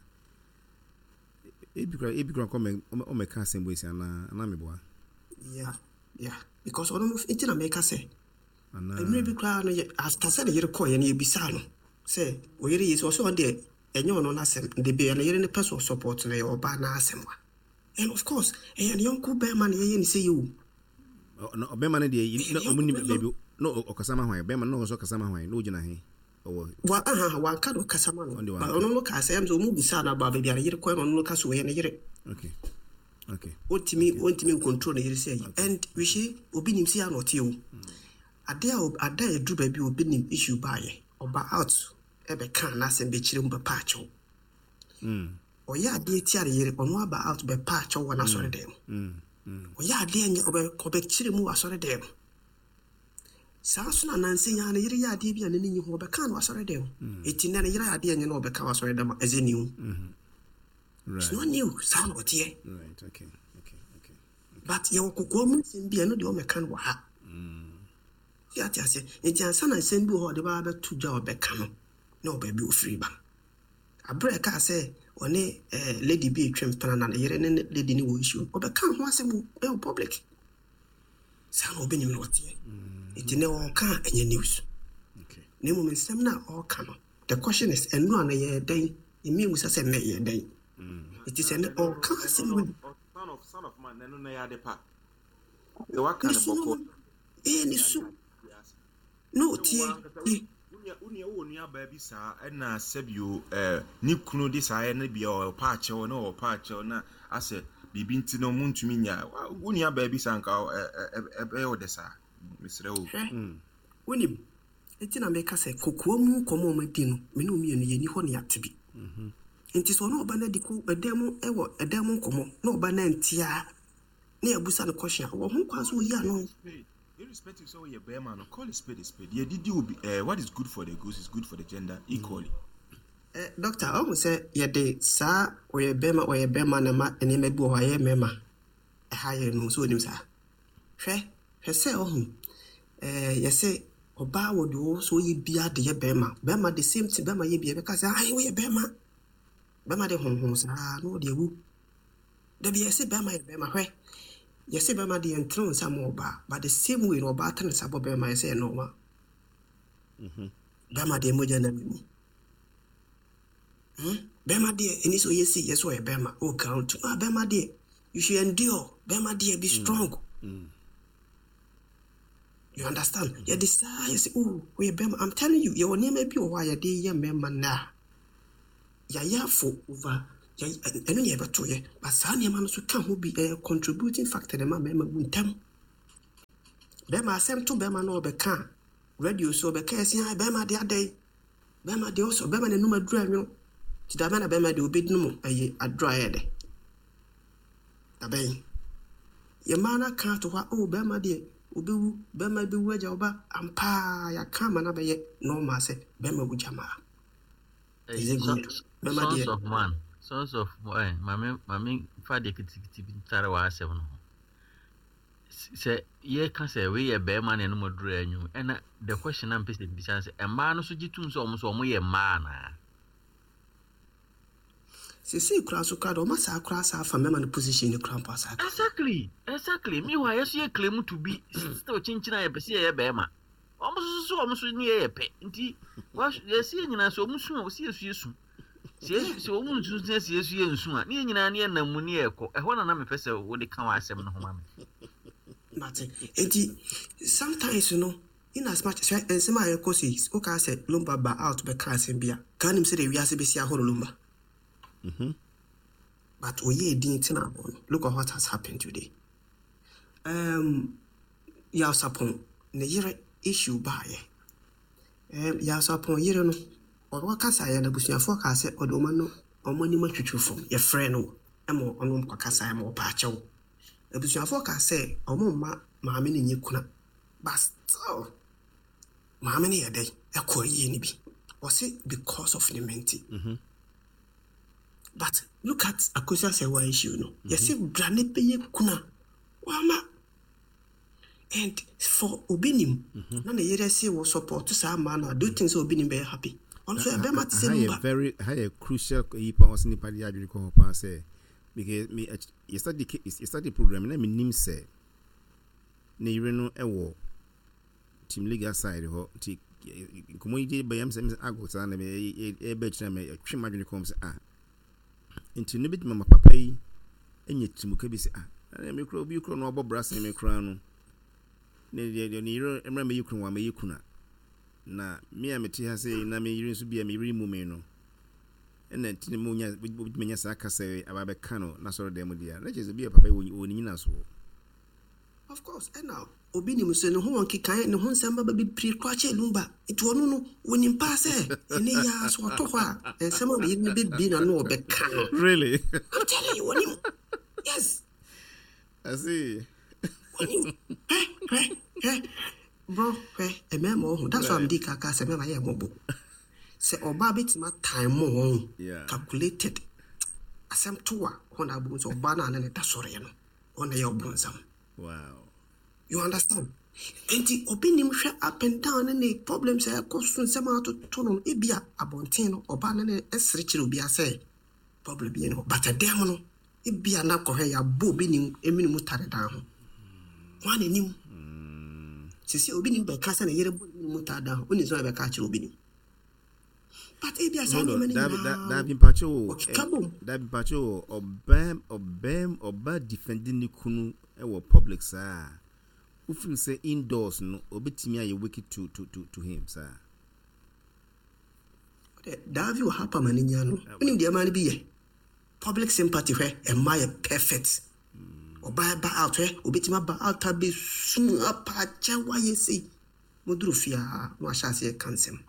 [SPEAKER 1] ebi kora ebi kora nkɔ ɔmɛka asɛm bɔ esi anaa anaa meboa?
[SPEAKER 7] yeah yeah because ɔno no nti na mɛka sɛ
[SPEAKER 1] anaa
[SPEAKER 7] mmerɛ bi koraa no, yɛ after sɛ ne yere kɔɔyɛ no, yɛbisaa no sɛ ɔyere yi sɛ ɔsɛ ɔno deɛ ɛnyɛ ɔno n'asɛm de bia ne yere no pɛ sɛ ɔsupport no, ɛyɛ ɔbaa n'asɛm a, and of course ɛyɛ ne yɔnko bɛrima na yɛyɛ ne sɛ yɛ o.
[SPEAKER 1] Ɔ- no, ɔbɛrima no deɛ yi- na
[SPEAKER 7] ɛyɛ ne
[SPEAKER 1] ɔmo nim
[SPEAKER 7] yɔnko bɛrima.
[SPEAKER 1] Baabi na ɔ- ɔkasa ma hwan? Bɛrima no na ɔsɔ kasa ma hwan na ogyina he ɔwɔ?
[SPEAKER 7] Wa aha, wanka no ɔkasa ma no.
[SPEAKER 1] Ɔno deɛ
[SPEAKER 7] but
[SPEAKER 1] wanka.
[SPEAKER 7] Ɔno no kaa sɛ ɛm sɛ ɔmu bisaa no aba baabi a ne yere kɔɛ no, ɔno no ka sɛ ɔyɛ ne yere.
[SPEAKER 1] okay okay
[SPEAKER 7] ɔntumi ɔntumi ncontrol ne yere sɛ yi, and you see, obi nim sɛ ana ɔte o ade a ob- ada a ɛduru baabi a obi nim issue baayɛ, ɔba out ɛbɛka n'asɛm bɛkyerɛ mu bɛpa akyɛw.
[SPEAKER 1] mm,
[SPEAKER 7] Ɔyɛ adeɛ tia ne yere, ɔno aba out bɛpa akyɛw wɔ n'asɔre dɛm.
[SPEAKER 1] mm, mm.
[SPEAKER 7] Ɔyɛ adeɛ nyɛ, ɔbɛ ɔbɛkyerɛ mu wɔ asɔre dɛm. Saa nso na nansa yi ara ne yere yɛ adeɛ bi a n'ani nye ho, ɔbɛka no asɔre dɛm. Eti nɛ ne yere ayɛ adeɛ nyɛ na ɔbɛka wɔ asɔre dɛm a, ɛsɛ new? It's
[SPEAKER 1] right
[SPEAKER 7] not new. Saa na ɔteɛ.
[SPEAKER 1] right okay okay okay
[SPEAKER 7] But yɛwɔ kokoa mu nsɛm bi a ɛno deɛ ɔmɛka no wɔ ha. Yɛ ate ase? Nti ansa na nsɛm bi wɔ hɔ a ɔde baa bɛto dwa a ɔbɛka no na ɔbaabi ofiri ba, aberɛ a ɛkaa sɛ ɔne eh, lady bi etwa mpena na ne yere ne ne lady ne wɔ issue no, ɔbɛka ho asɛm wɔ ɛwɔ public. Saa na ɔbɛnim na ɔteɛ. Nti nɛ ɔɔka a, ɛnyɛ news.
[SPEAKER 1] Okay
[SPEAKER 7] na mmom nsɛm no a ɔɔka no, the question is, ɛno a no yɛyɛ dɛn ɛmi mu sɛ sɛ nnɛ yɛyɛ dɛn? Nti sɛ nɛ ɔɔka asɛm wei
[SPEAKER 2] son of son of man, ɛno na yɛ ade pa sɛ waka
[SPEAKER 7] ne
[SPEAKER 2] no
[SPEAKER 7] su no
[SPEAKER 2] bɔkɔ.
[SPEAKER 7] Ɛyɛ ne su na ɔtie tie.
[SPEAKER 2] Wonua, wowɔ nuabaa bi saa ɛna sɛbio ɛɛ ne kunu de saa ɛne bia ɔpa akyɛw na ɔpa akyɛw na asɛ biribi nti no muntumi nya wo nuabaa bi saa nka ɛ- ɛ- ɛ- ɛbɛyɛ wo dɛ saa? Mesrɛ wo.
[SPEAKER 7] Hwɛ, wonim nti na meka sɛ kokoa mu nkɔmmɔ a ɔmadi no, me ne wo mmienu yɛni hɔ ne yɛate bi. Nti sɛ ɔne ɔba no adi ko ɛdan mu, ɛwɔ ɛdan mu nkɔmmɔ na ɔba no antie a, na yɛabusa no question a, ɔwɔ ho kwan sɛ ɔyi ano.
[SPEAKER 2] Irrespective sɛ woyɛ bɛrima no, call a spade a spade. Yɛdidi obi eh, what is good for the goose is good for the gender equally.
[SPEAKER 7] Eh, doctor, ɔhu sɛ yɛde saa ɔyɛ bɛrima, ɔyɛ bɛrima na ma nneɛma bi wɔ hɔ a ɛyɛ mmarima ɛha yɛ no sɛ onim saa. Hwɛ, hwɛ sɛ ɔhu ɛɛ yɛsɛ ɔbaa wɔ deɛ ɔwɔ sɛ ɔyɛ bia de yɛ bɛrima. Bɛrima, the same thing, bɛrima yɛ bia bɛka sɛ ayi woyɛ bɛrima. Bɛrima de honhom saa na ɔde awu. Dabi, yɛsɛ bɛrima yɛ bɛrima. Hwɛ, yɛsɛ bɛrima de yɛntene wo nsa ma ɔbaa, but the same way na ɔbaa tene nsa bɔ bɛrima, yɛsɛ yɛ normal. Bɛrima deɛ, mogya nam mu. Hmm? Bɛrima deɛ, ɛni sɛ ɔyɛ sei, yɛ sɛ ɔyɛ bɛrima. Oh, ka to ah, bɛrima deɛ, you should endure. Bɛrima deɛ, be strong. You understand? Yɛde saa yɛ sɛ, oh, ɔyɛ bɛrima. I'm telling you, yɛwɔ nneɛma bi wɔ hɔ a yɛde yɛ mmarima nnɛ a yɛayɛ afo over yɛ- ɛno ne yɛbɛto yɛ, but saa nneɛma no so ka ho bi, ɛyɛ contributing factor na ɛma mmarima wu ntɛm. Bɛrima asɛm to bɛrima na ɔbɛka a, radio so ɔbɛka ɛsi ha, bɛrima deɛ adɛn, bɛrima deɛ ɔsɔ bɛrima n'anum aduru anwono nti dabɛn na bɛrima deɛ obɛdi no mu ɛyɛ aduru ayɛ dɛ dabɛn. Yɛ mmaa no aka ato hɔ a, oh, bɛrima deɛ obɛwu, bɛrima bɛwu agya ɔba ampaa. Yɛaka ama no abɛyɛ normal sɛ bɛrima wu gya maa. Is it good? Bɛrima
[SPEAKER 6] Sons
[SPEAKER 7] deɛ
[SPEAKER 6] of man, sons of eh, maame maame fa deɛ kitikiti bi ntare wɔ asɛm no ho. S- sɛ yɛka sɛ wei yɛ bɛrima na ɛnum aduru anwum, ɛna the question na mpɛ sɛ bisa sɛ, mmaa no so gye tum sɛ ɔmo so ɔmo yɛ mmaa anaa?
[SPEAKER 7] Sesei koraa so koraa de, ɔma saa koraa saa afa mmarima no position no koraa mpo asa aka.
[SPEAKER 6] exactly exactly Meanwhile, yɛso yɛ claim to be still kyinkyin a yɛpɛ sɛ yɛyɛ bɛrima. Ɔmo so so ɔmo so ne yɛyɛ pɛ, nti wa- yɛsi yɛ nyinaa sɛ ɔmo su a, ɔsi yɛsu yɛsu sɛ yɛsu, sɛ ɔmo nsu sɛ sɛ yɛsu yɛ nsu a, ne yɛ nyinaa ne yɛ nam mu ne yɛ kɔ ɛhɔ. Na na mepɛ sɛ wode ka wɔ asɛm no ho ma me.
[SPEAKER 7] Mate. Nti sometimes no, in as much sɛ nsɛm a yɛkɔ so yi, wokaa sɛ Lumba ba out bɛka asɛm bi a kaa nim sɛ de wiase bɛsi ahoro Lumba, but ɔyɛ din tena hɔ no, look at what has happened today. um, Yaw Sarpong ne yere issue baayɛ. um, Yaw Sarpong yere no, ɔno kasaeɛ no, abusuafoɔ kaa sɛ ɔde ɔma no ɔmo anim atwitwi fam. Yɛfrɛ no ɛma ɔno kɔkasaeɛ ma ɔpa akyɛw. Abusuafoɔ kaa sɛ ɔmo mma maame no nyɛ kuna, but still maame no yɛ dɛn ɛkɔ yie no bi, ɔse because of ne mente. But look at Akosua Serwaa issue no, yɛse bra ne bɛyɛ kuna wama, and for Obinim na ne yere se wɔ support saa maa no a, do you think sɛ Obinim bɛyɛ happy? Ɔno nso ɛbɛma te sɛ
[SPEAKER 1] Ha yɛ
[SPEAKER 7] Lumba.
[SPEAKER 1] Very ha yɛ crucial yi pa, ɔsɛ nipa de adwene kɔ hɔ paa sɛ because me yɛ study yɛ study program na me nim sɛ ne yere no ɛwɔ team legal side hɔ, nti nkɔmɔ yi de bɛyɛ sɛ sɛ ago saa na ɛbɛ kyerɛ me, ɛtwe mu adwene kɔm sɛ ah, nti ne bɛtumi ama papa yi anya tirimuka bi sɛ ah, ɛna me kura obi kura no ɔbɔ bra sɛn me kura no ne deɛ deɛ ne yere mmerɛ mɛyi kunu wa mɛyi kuna na me a mete ha sɛ na me yere nso bi a me yere mu me no, ɛna nti ne mo nya wobɛtumi anya saa kasa yi aba bɛka no na sɔrɔ dan mu deɛ a na kyerɛ sɛ bi a papa yi wɔ wɔ ne nyina so.
[SPEAKER 7] Of course, ɛna Obinim sɛ ne ho wɔ nkekae, ne ho nsɛm baba bebree koraa kyɛ Lumba, nti ɔno no wɔnim paa sɛ ɛne yɛ a so ɔtɔ hɔ a, nsɛm a ne yere no bɛbie na no ɔbɛka no.
[SPEAKER 1] Really?
[SPEAKER 7] I'm telling you, wɔnim, yes.
[SPEAKER 1] I see.
[SPEAKER 7] Wɔnim. Hwɛ, hwɛ, hwɛ, bro, hwɛ, mmarima wɔ ho. That's why I'm di kaka sɛ mmarima yɛ mmɔbɔ sɛ ɔbaa bɛtumi atan mo wɔn
[SPEAKER 1] Yeah.
[SPEAKER 7] calculated asɛm to a hɔ na abom sɛ ɔbaa no a ne ne da sɔreɛ no, ɔna yɛ ɔbonsam.
[SPEAKER 1] Wow.
[SPEAKER 7] You understand? Nti Obinim hwɛ up and down ne ne problems a ɛkɔ so, nsɛm a atoto no, ebia abɔnten no ɔbaa no ne ɛsere kyerɛ obi asɛ problem bi no, but ɛdɛm no ebia na kɔhwɛ yɛabɔ Obinim emini mu tare dan ho wɔn a n'anim sisi. Obinim bɛka sɛ ne yere bɔ ne mu tare dan ho, onim sɛ ɔbɛka akyerɛ Obinim, but ebia saa
[SPEAKER 1] Hold
[SPEAKER 7] nneɛma
[SPEAKER 1] on.
[SPEAKER 7] no
[SPEAKER 1] Dabi
[SPEAKER 7] nyinaa
[SPEAKER 1] dabi, mpakyɛ o.
[SPEAKER 7] ɔkeka bom.
[SPEAKER 1] Dabi, mpakyɛ o. Ɔbɛn ɔbɛn ɔba defending ne kunu ɛwɔ public saa. Wofin sɛ indoors no obetumi ayɛ wicked to to to to him saa?
[SPEAKER 7] Daavi wɔ ha pama ne nya no, wonim deɛ ɛma no bi yɛ public sympathy. Hwɛ, ɛma yɛ perfect. Ɔbaa ba out, hwɛ, obɛtumi aba out abɛsu apa akyɛ wayɛ sei, moduru fie a na wahyɛ aseɛ ka nsɛm,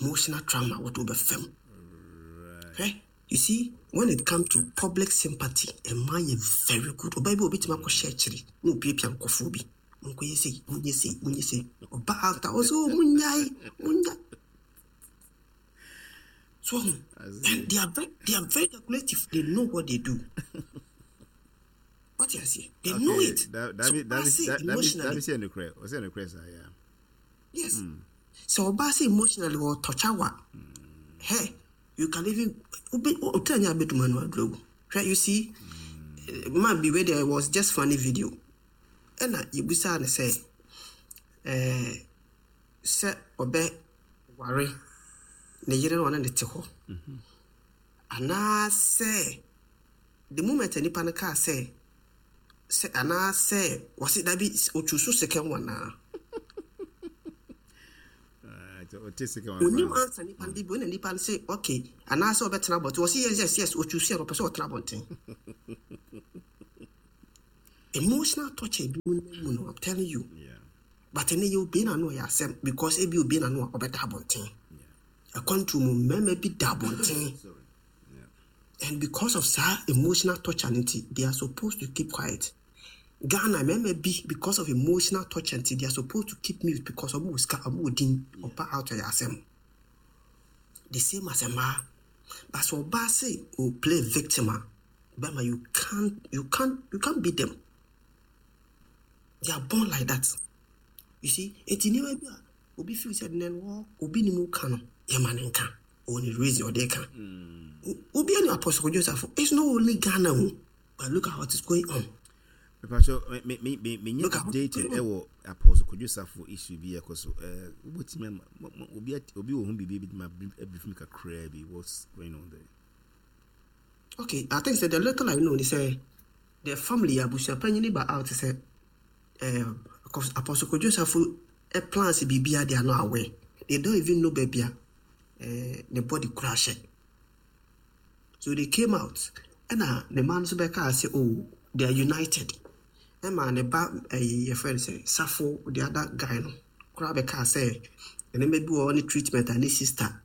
[SPEAKER 7] emotional trauma wɔde wobɛfam. Hwɛ, you see, when it come to public sympathy, ɛma yɛ very good. Ɔbaa bi a obɛtumi akɔhyɛ akyiri na opiapia nkɔfoɔ bi, monkɔyɛ sei, monyɛ sei, monyɛ sei. Ɔba out a, ɔsɛ, "Oh, monyae, monyae." So and they are very they are very calculative. They know what they do. What you say, they know it.
[SPEAKER 1] Dabi
[SPEAKER 7] So
[SPEAKER 1] dabi
[SPEAKER 7] ɔbaa say
[SPEAKER 1] dabi
[SPEAKER 7] emotionally
[SPEAKER 1] dabi sɛ ɛnukurɛ, ɔsɛ ɛnukurɛ saa, yeah.
[SPEAKER 7] Yes, so ɔbaa say emotionally ɔtɔkya wa, hey, you can even obe ɔtí anya abɛduma no aduro hwɛ. You see, eh, man bi wey there was just funny video, ɛna yɛbusaa no sɛ ɛɛ sɛ ɔbɛ ware Ne yere no, ɔne ne te hɔ, anaasɛ the moment a nipa no kaa sɛ sɛ anaasɛ wɔse dabi, ɔtwu so second one naa.
[SPEAKER 1] Ah, ɔte second one
[SPEAKER 7] onim
[SPEAKER 1] koraa.
[SPEAKER 7] Ansa nipa no de bi ɔna nipa no sɛ okay, anaasɛ ɔbɛtena abɔnten. Wɔse yes yes yes ɔtwu so yɛ no, ɔpɛ sɛ ɔtena abɔnten. Emotional torture bi mu nam mu no, I'm telling you.
[SPEAKER 1] Yeah.
[SPEAKER 7] But ɛnɛ yɛ obie n'ano, ɔyɛ asɛm because ebi obie n'ano a, ɔbɛda abɔnten. Akwantu mu, mmarima bi da abɔnten.
[SPEAKER 1] Sorry. Yeah.
[SPEAKER 7] And because of saa emotional torture no nti, they are supposed to keep quiet. Ghana mmarima bi, because of emotional torture nti, they are supposed to keep mute because ɔmo wɔ sika, ɔmo wɔ din, ɔba out, ɔyɛ asɛm. The same as mmaa, but sɛ ɔbaa se o play victim a, bɛrima, you can't you can't you can't beat them. They are born like that, you see. Eti nneɛma bi a obi feel sɛ nnɛ no wɔ obi ni mu ka no, yɛma ne nka, ɔwɔ ne reason ɔde ka. Obi ani Apostle Joseph, it's not only Ghana o, but look at what is going on.
[SPEAKER 1] Mepacho, me me me me
[SPEAKER 7] Look at what is
[SPEAKER 1] updated
[SPEAKER 7] going on.
[SPEAKER 1] ɛwɔ Apostle Kwadwo Safo issue bi ɛkɔ so. Ɛɛ wobɛtumi ama mo- mo- obi at- obi wɔ ho biribi bi ma abrief me kakraa bi, what's going on there?
[SPEAKER 7] Okay, I think sɛ the little I know is sɛ the family, abusuapanyin ba out sɛ um, Apostle Kwadwo Safo eh, plans biribiara, they are not aware. They don't even know baabi a eh, ne body kora hyɛ. So they came out, ɛna ne mma no nso bɛkaa sɛ, oh, they are united. Ɛma ne ba ɛyi, yɛfrɛ no sɛ Safo, the other guy no koraa bɛkaa sɛ nneɛma bi wɔ hɔ ne treatment a ne sister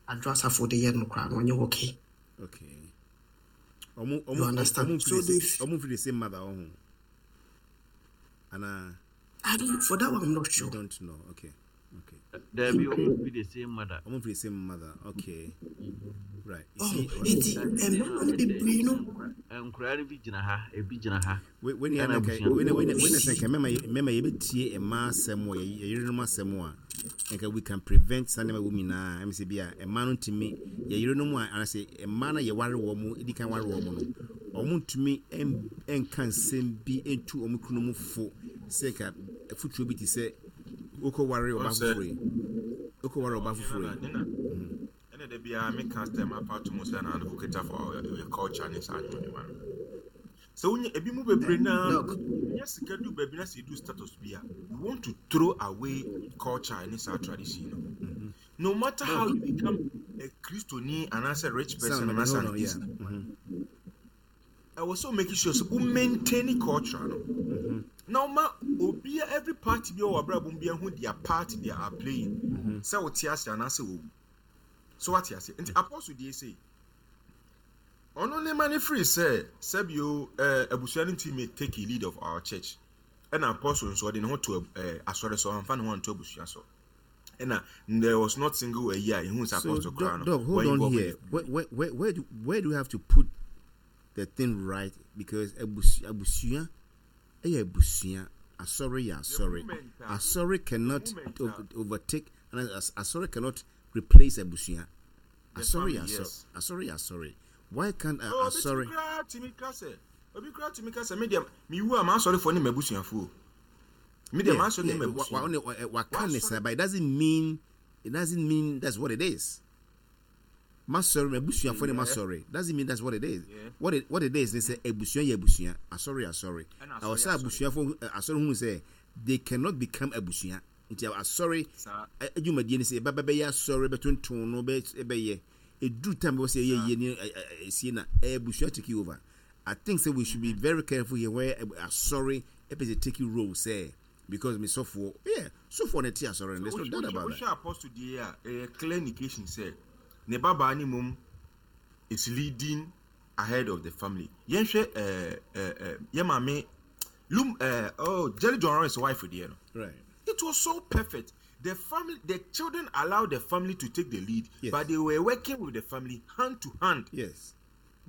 [SPEAKER 7] Adwoa Safo de yɛ no koraa no, ɔnyɛ okay.
[SPEAKER 1] Okay. Ɔmo
[SPEAKER 7] You
[SPEAKER 1] ɔmo
[SPEAKER 7] understand?
[SPEAKER 1] ɔmo
[SPEAKER 7] So
[SPEAKER 1] mfiri
[SPEAKER 7] they
[SPEAKER 1] the ɔmo mfiri the same mother ɔho. Ana
[SPEAKER 7] I don't, for that one I'm not
[SPEAKER 1] you
[SPEAKER 7] sure.
[SPEAKER 1] don't know. Okay. Okay.
[SPEAKER 6] Dabi, ɔmo fi the same mother.
[SPEAKER 1] Ɔmo mfiri the same mother. Okay. Right. You
[SPEAKER 7] Oh,
[SPEAKER 1] see,
[SPEAKER 7] nti mmarima no bebree no
[SPEAKER 6] Nkwaraa no bi gyina ha, ebi gyina ha.
[SPEAKER 1] when when
[SPEAKER 6] Ɛna
[SPEAKER 1] you
[SPEAKER 6] abusua.
[SPEAKER 1] when when when sɛ nka mɛma mɛma yɛbɛtie mmaa asɛm wɔ yɛ yerenom asɛm a, nka we can prevent saa nneɛma wɔ mu nyinaa. Ɛm sɛ bi a mmaa no ntumi yɛ yerenom a, anaasɛ mmaa no yɛware wɔ mu, edi kan ware wɔ mu no, ɔmo ntumi ɛn ɛnka nsɛm bi ntu ɔmo kunu mu fo sɛ nka afutuo bi te sɛ wokɔ ware ɔbaa
[SPEAKER 2] Ɔsɛ-
[SPEAKER 1] foforɔ yi, wokɔ ware ɔbaa foforɔ yi.
[SPEAKER 2] Ɛna da biara meka sɛ mapa to mu sɛ na advocate for your culture ne saa nneɛma no sɛ wonya ebi mu bebree naa
[SPEAKER 7] Doc.
[SPEAKER 2] Nya sika du baabi na sɛ edu status bi a, you want to throw away culture ne saa tradition no, no matter how you become a Kristoni anaasɛ rich person
[SPEAKER 1] Sound,
[SPEAKER 2] anaasɛ
[SPEAKER 1] hold
[SPEAKER 2] an
[SPEAKER 1] on, yeah.
[SPEAKER 2] business,
[SPEAKER 1] Mhm.
[SPEAKER 2] ɛwɔ sɛ o make sure sɛ o maintain culture no na ɔma obia, every party bi a ɔwɔ abrabɔ mu bi ahu their part they are playing, sɛ wote ase anaasɛ wɔwu so, wate ase. Nti Apostle deɛ, sei ɔno ne ma ne firi sɛ sɛbio ɛɛ abusua no ntumi take a lead of our church, ɛna Apostle nso ɔde ne ho to ɛɛ asɔre so, ɔnfa ne ho anto abusua so, ɛna there was not single a year ehu sɛ
[SPEAKER 1] So,
[SPEAKER 2] Apostle koraa
[SPEAKER 1] Doc,
[SPEAKER 2] no
[SPEAKER 1] Doc, hold
[SPEAKER 2] wɔn
[SPEAKER 1] on
[SPEAKER 2] involve
[SPEAKER 1] here. Where, where, where, where, do, where do we have to put the thing right? Because abusua, abusua, ɛyɛ abusua. Asɔre yɛ asɔre.
[SPEAKER 2] Moment a-
[SPEAKER 1] Asɔre cannot
[SPEAKER 2] moment a-
[SPEAKER 1] over, overtake, and as- asɔre cannot replace abusua.
[SPEAKER 2] The
[SPEAKER 1] Asɔre
[SPEAKER 2] family,
[SPEAKER 1] yɛ asɔre.
[SPEAKER 2] yes.
[SPEAKER 1] Asɔre yɛ asɔre. Why can't uh,
[SPEAKER 2] Oh, obi
[SPEAKER 1] asɔre?
[SPEAKER 2] tumi koraa tumi ka sɛ, obi koraa tumi ka sɛ, me deɛ mewu a, m'asɔrefoɔ ne m'abusuafoɔ, me deɛ m'asɔre ne
[SPEAKER 1] Yeah, wa- wa-
[SPEAKER 2] m'abusua.
[SPEAKER 1] wa- wa- waka ne
[SPEAKER 2] Wasɔre-
[SPEAKER 1] saa, but it doesn't mean it doesn't mean that's what it is. Masɔre, m'abusuafoɔ ne masɔre doesn't mean that's what it is.
[SPEAKER 2] Yeah.
[SPEAKER 1] What it what it is ne sɛ abusua yɛ abusua, asɔre yɛ asɔre.
[SPEAKER 2] Ɛna
[SPEAKER 1] Ɛwɔ
[SPEAKER 2] asɔre
[SPEAKER 1] sɛ
[SPEAKER 2] yɛ asɔre.
[SPEAKER 1] abusuafoɔ ɛ, asɔre hu sɛ they cannot become abusua. Nti asɔre
[SPEAKER 2] Saa.
[SPEAKER 1] ɛ, adwumadie ne sɛ ɛbɛba bɛyɛ asɔre bɛtonton no bɛ ɛbɛyɛ eduru time bɛ sɛ ɛyɛ yie ne ɛ, ɛ, esie na ɛyɛ abusua take over. I think sɛ we should be very careful here where ɛ, asɔre ɛpɛ sɛ take role sɛ because me sɔfoɔ, yeah, sɔfoɔ na ɛte asɔre no, there's no doubt about that.
[SPEAKER 2] Wohwɛ Apostle deɛ a, ɛyɛ clear indication sɛ ne babaa ne mom is leading ahead of the family. Yɛnhwɛ ɛɛ ɛɛ yɛ maame Lum ɛɛ oh, Jerry John Rawlings wife deɛ no.
[SPEAKER 1] Right.
[SPEAKER 2] It was so perfect. The family, the children allowed the family to take the lead,
[SPEAKER 1] Yes.
[SPEAKER 2] but they were working with the family hand to hand.
[SPEAKER 1] Yes.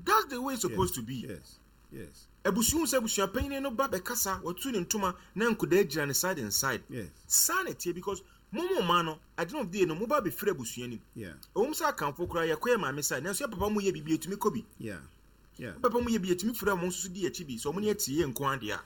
[SPEAKER 2] That's the way it's supposed
[SPEAKER 1] yes.
[SPEAKER 2] to be.
[SPEAKER 1] Yes. Yes.
[SPEAKER 2] Abusua sɛ abusua panyin no ba bɛkasa, wɔtu ne ntoma na nkodaa gyina ne side and side.
[SPEAKER 1] Yes.
[SPEAKER 2] Saa na ɛteɛ because mo mo ma no, at the end of the day no, mo ba bɛfiri abusua nim.
[SPEAKER 1] Yeah.
[SPEAKER 2] Ɛwɔ mu sɛ akamfo koraa yɛkɔ yɛ maame side, nanso yɛ papa mu yɛ biribi, etumi kɔ bi.
[SPEAKER 1] Yeah. Yeah.
[SPEAKER 2] Papa mu yɛ bi, etumi firi a mo nso so di akyi bi sɛ ɔmo ne ɛte yɛ nko adeɛ a.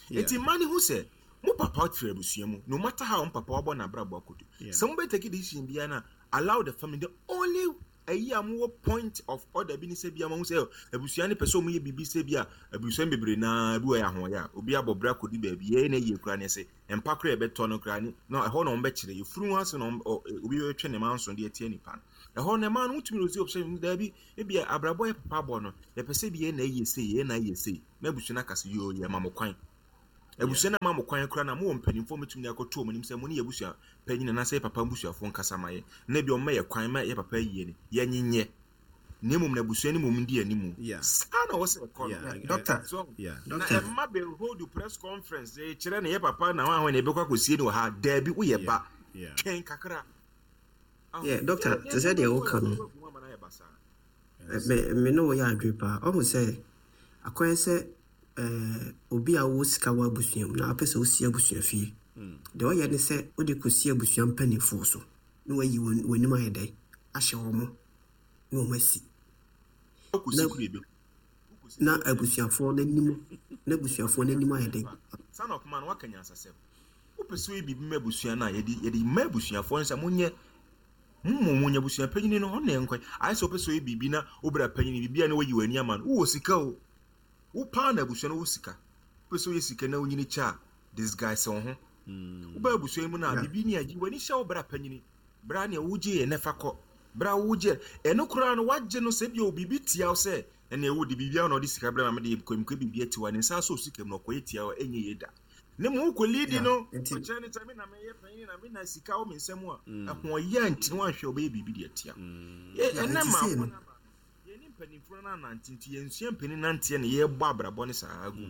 [SPEAKER 1] Yeah.
[SPEAKER 2] Eti mmaa ne ho sɛ mo papa firi abusua mu, no matter how mo papa wabɔ n'abrabɔ akoto.
[SPEAKER 1] Yeah.
[SPEAKER 2] Sɛ mo bɛ take decision biara na Allow the family. The only ɛyi a mowɔ point of order bi ne sɛ bi a mahu sɛ abusua no pɛ sɛ ɔmo yɛ biribi sɛ bi a abusua no bebree naa bi wɔ yɛ ahoɔyɛ a obi abɔ bra kɔdi baabi yɛyɛ na yie koraa ne sɛ mpa koraa yɛbɛtɔ no koraa ne na ɛhɔ na ɔmo bɛkyerɛ yɛfunu ho ase na ɔmo ɔ- obi bɛtwe ne ma nso de atia nipa no ɛhɔ na ɛma no wotumi rosi option daabi ebi a abrabɔ yɛ papa bɔ no yɛpɛ sɛ bi yɛn na ɛyɛ sei, yɛn na ɛyɛ sei, na abusua no aka sɛ yoo, yɛ ma mo kwan. Abusua no ama mo kwan koraa na mowɔ mpanimfoɔ mɛtumi de akɔto ɔmo anim sɛ mo ne yɛ abusua panyin anaasɛ yɛ papa abusuafoɔ nkasa ma yɛ na ebi ɔmo ma yɛ kwan ma yɛ papa yie no yɛnyenyɛ, na mmom na abusua no mmom di animu.
[SPEAKER 1] Yeah.
[SPEAKER 2] Saa na wɔsɛ ɛkɔ no.
[SPEAKER 1] Yeah, I- I-
[SPEAKER 7] Doctor.
[SPEAKER 2] So
[SPEAKER 1] yeah.
[SPEAKER 2] na
[SPEAKER 7] Doctor.
[SPEAKER 2] ɛma bɛ hold press conference eh, kyerɛ ne yɛ papa na wɔn ahɔn na ɛbɛkɔ akɔsie no wɔ ha. Daabi, woyɛ ba,
[SPEAKER 1] Yeah.
[SPEAKER 2] twɛn kakra.
[SPEAKER 7] Yeah, doctor, te sɛ deɛ woka no, me me ne wo yɛ adwene paa. Ɔhu sɛ akɔyɛ sɛ ɛɛ, obi a wowɔ sika wɔ abusua mu na apɛ sɛ wosi abusua fie, deɛ ɔyɛ ne sɛ wode kɔsi abusua mpanimfoɔ so na wayi wɔn- w'anim ayɛ dɛn ahyɛ wɔ mo na wɔn asi
[SPEAKER 2] Wokɔsi kuro ebi
[SPEAKER 7] na abusuafoɔ n'anim na abusuafoɔ n'anim ayɛ dɛn.
[SPEAKER 2] Sana ɔkoma no waka nyansasɛm. Wopɛ sɛ woyɛ biribi ma abusua no a, yɛde yɛde ma abusuafoɔ no sɛ monyɛ mommɔ mo nya abusua panyini no ɔna ɛnkɔ ayɛ sɛ wopɛ sɛ woyɛ biribi na wobra panyini biribi a na wayi w'ani ama no. Wowɔ sika o, wo paa na abusua no wɔ sika. Wopɛ sɛ woyɛ sika na wonyini kyɛ a, disguise wo ho. Wobaa abusua yi mu no a,
[SPEAKER 7] Yeah.
[SPEAKER 2] biribi ne agyi w'ani hyɛ wo bra panyini bra nea wogye yɛ nɛfa kɔ bra wogye ɛno koraa no wagye no sɛ bio biribi tia wo sɛ ɛnea wode biribiara na ɔde sika brɛ ma mede kɔmkɔ biribi ati wa ne nsa so sika mu na ɔkɔyɛ tia wo, ɛnyɛ yie da. Ne mu wokɔ liidi
[SPEAKER 7] Yeah,
[SPEAKER 2] no
[SPEAKER 7] nti-
[SPEAKER 2] ɔkyerɛ ne sɛ me na meyɛ panyin na me na sika wɔ me nsam a ɛhoɔyɛ nti no wanhwɛ wobɛyɛ biribi de atia. Yɛ-
[SPEAKER 7] Yeah,
[SPEAKER 2] ɛnɛ
[SPEAKER 7] nti
[SPEAKER 2] ma
[SPEAKER 7] sei no-
[SPEAKER 2] yɛne mpanimfoɔ no anante nti yɛnsua mpanin nanteɛ ne yɛbɔ abrabɔ ne saa agu.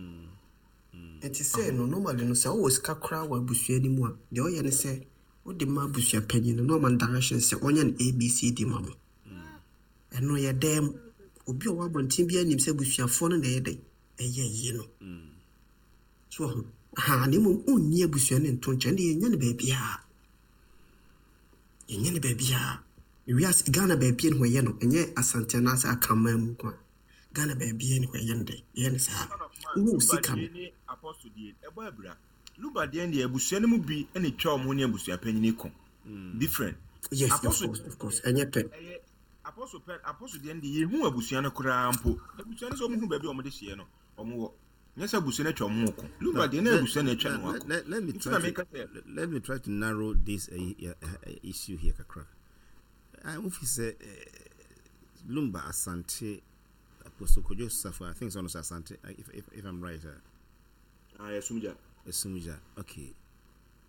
[SPEAKER 7] Nti sɛ no, normally no, sɛ wowɔ sika koraa wɔ abusua no mu a, deɛ ɔyɛ ne sɛ wode ma abusua panyin no na ɔma no direction sɛ ɔnyɛ no A B C D ma mo. Ɛno yɛ dɛm obi a ɔwɔ abɔnten bi anim sɛ abusuafoɔ no na ɛyɛ dɛn ɛyɛ yie no so ɔho ha, na mmom ɔnni abusua no nto nkyɛn de yɛnyɛ no baabiaa, yɛnyɛ no baabiaa. Wiase Ghana baabia ne hɔ yɛ no, ɛnyɛ Asante anaasɛ Akraman mu nko a, Ghana baabia ne hɔ yɛ no dɛn yɛyɛ no saa. Wowɔ sika no
[SPEAKER 2] Lumba deɛ ne Apostle deɛ ɛbɔ abira. Lumba deɛ deɛ abusua no mu bi ɛna etwa wɔn ho ne abusua panyin ko different.
[SPEAKER 7] Yes, of
[SPEAKER 2] Apostle
[SPEAKER 7] course, of course, ɛnyɛ pɛ.
[SPEAKER 2] Ɛyɛ Apostle pɛ. Apostle deɛ deɛ yehu abusua no koraa mpo, abusua no sɛ wɔn hu baabi a wɔn de hyɛ no wɔn wɔ nyɛ sɛ abusua no atwa wɔn ho ko. Lumba deɛ na abusua no atwa ne ho
[SPEAKER 1] Let,
[SPEAKER 2] ako.
[SPEAKER 1] let, let me
[SPEAKER 2] Nti
[SPEAKER 1] try
[SPEAKER 2] na
[SPEAKER 1] to
[SPEAKER 2] meka sɛ
[SPEAKER 1] let me try to narrow this uh, uh, uh, issue here kakra. I if say uh, Lumba Asante, Apostle Kojo Safo, I think it's almost Asante, uh, if, if, if I'm right. Uh,
[SPEAKER 2] ah yɛ sumgya.
[SPEAKER 1] Esumja, okay.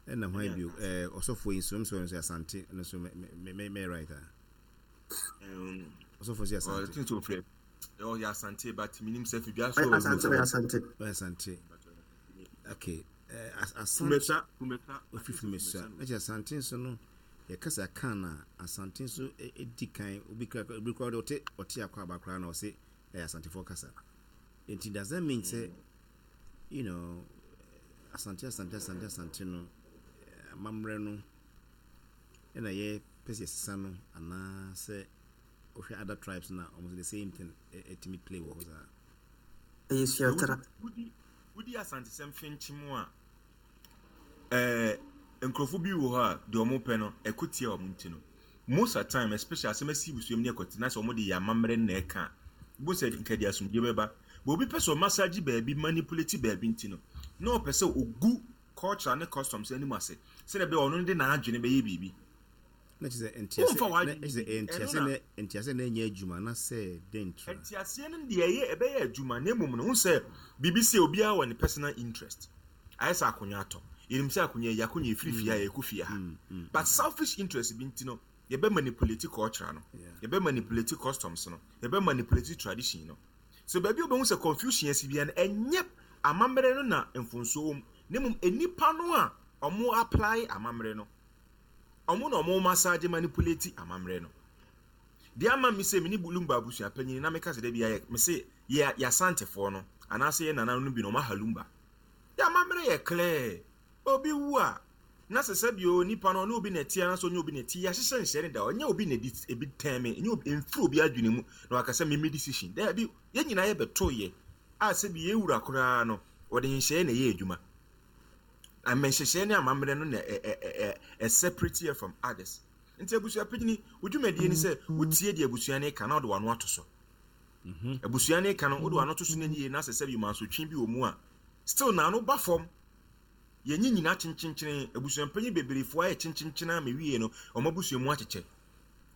[SPEAKER 1] And now why you uh also for instance so Asante and so me me me right. Uh,
[SPEAKER 2] Um,
[SPEAKER 1] also for
[SPEAKER 2] ɔ
[SPEAKER 1] Asante.
[SPEAKER 2] think so frɛ ɔyɛ Asante, but minim sɛ fidwa so.
[SPEAKER 7] Ɛ- Asante, ɔyɛ Asante.
[SPEAKER 1] Oh, Asante. Okay. Uh, Asante.
[SPEAKER 2] Fumesa, Fumesa.
[SPEAKER 1] Ofi Fumesa. Ɛkyɛ Asante nso no yɛkasa kan na Asante nso ɛ- ɛdi kan. Obi kura obi kura de ɔte ɔte akɔ aba koraa na ɔse ɛyɛ Asantefoɔ kasa. Nti does that mean sɛ you know Asante Asante Asante Asante no eh, amammerɛ no ɛna yɛ pɛ sɛ yɛsesa no, anaasɛ wohwɛ other tribes na ɔmo nso the same thing ɛ- ɛtumi play wɔ hɔ saa?
[SPEAKER 7] Ɛyɛ suatara.
[SPEAKER 2] Wodi wodi Asantesɛm finkyim a, ɛɛ nkurɔfo bi wɔ hɔ a deɛ ɔmo pɛ no ɛko tia ɔmo. Nti no most of the time, especially asɛm asi busua mu ne ɛkɔte na sɛ ɔmo de yɛ amammerɛ no na ɛka a bo sɛ nka de asomdwe bɛba but obi pɛ sɛ ɔmasagye baabi, manipulate baabi, nti no na ɔpɛ sɛ ogu culture ne customs anim ase sɛdeɛ ɛbɛyɛ ɔno de n'adwene bɛyɛ biribi.
[SPEAKER 1] Na kyerɛ sɛ ntiase
[SPEAKER 2] Womfa
[SPEAKER 1] na
[SPEAKER 2] w'adwene
[SPEAKER 1] kyerɛ sɛ
[SPEAKER 2] ɛno
[SPEAKER 1] ntiase
[SPEAKER 2] na-
[SPEAKER 1] na ntiase na ɛnyɛ adwuma na sɛ den tra.
[SPEAKER 2] Ntiaseɛ no deɛ ɛyɛ ɛbɛyɛ adwuma, na mmom no ho sɛ biribi sɛ obiara wɔ ne personal interest. Ayɛ sɛ akonnwa atɔ, yɛnim sɛ akonnwa yi akonnwa ɛfiri fie a yɛkɔ fie ha, but selfish interest bi nti no yɛbɛ manipulate culture no, yɛbɛ manipulate customs no, yɛbɛ manipulate tradition no. So baabi a wobɛhu sɛ confusion asi biara no, ɛnyɛ amammerɛ no na mfonsuo wɔ mu, na mmom nnipa no a ɔmo apply amammerɛ no, ɔmo na ɔmo massage manipulate amammerɛ no. Deɛ ama mi sɛ mene Lumba abusua panyin na meka sɛ da bi ayɛ me se yɛ yɛasantefoɔ no anaasɛ yɛ nananom no bi na ɔmo aha Lumba yɛ amammerɛ yɛ clear. Obi wu a na sɛ sɛ bio nipa no ɔne obi na ɛte anaasɛ ɔnyɛ obi na ɛte, yɛahyehyɛ nhyɛ ne da, ɔnyɛ obi na ɛdi ebi tɛn me, ɛnyɛ obi mfiri obi adwene mu na waka sɛ meme decision daabi. Yɛn nyinaa yɛbɛto yɛ a sɛ bi yɛwura koraa no wɔde nhyɛeɛ na ɛyɛ adwuma. Ama nhyehyɛeɛ ne amammerɛ no na ɛ ɛ ɛ ɛ separate yɛ from others. Nti abusua panyini, wo dwumadie ni sɛ wotie deɛ abusua no ka na wode w'ano ato so. Abusua no ka no, wode w'ano to so no yie na sɛ sɛbi mansotwe bi wɔ mu a, still na ano ba fam. Yɛnyi nyinaa kyenkyenkyene. Abusua panyin beberefoɔ ayɛ kyenkyenkyene a mewie no, ɔmo abusua mu akyekyɛ.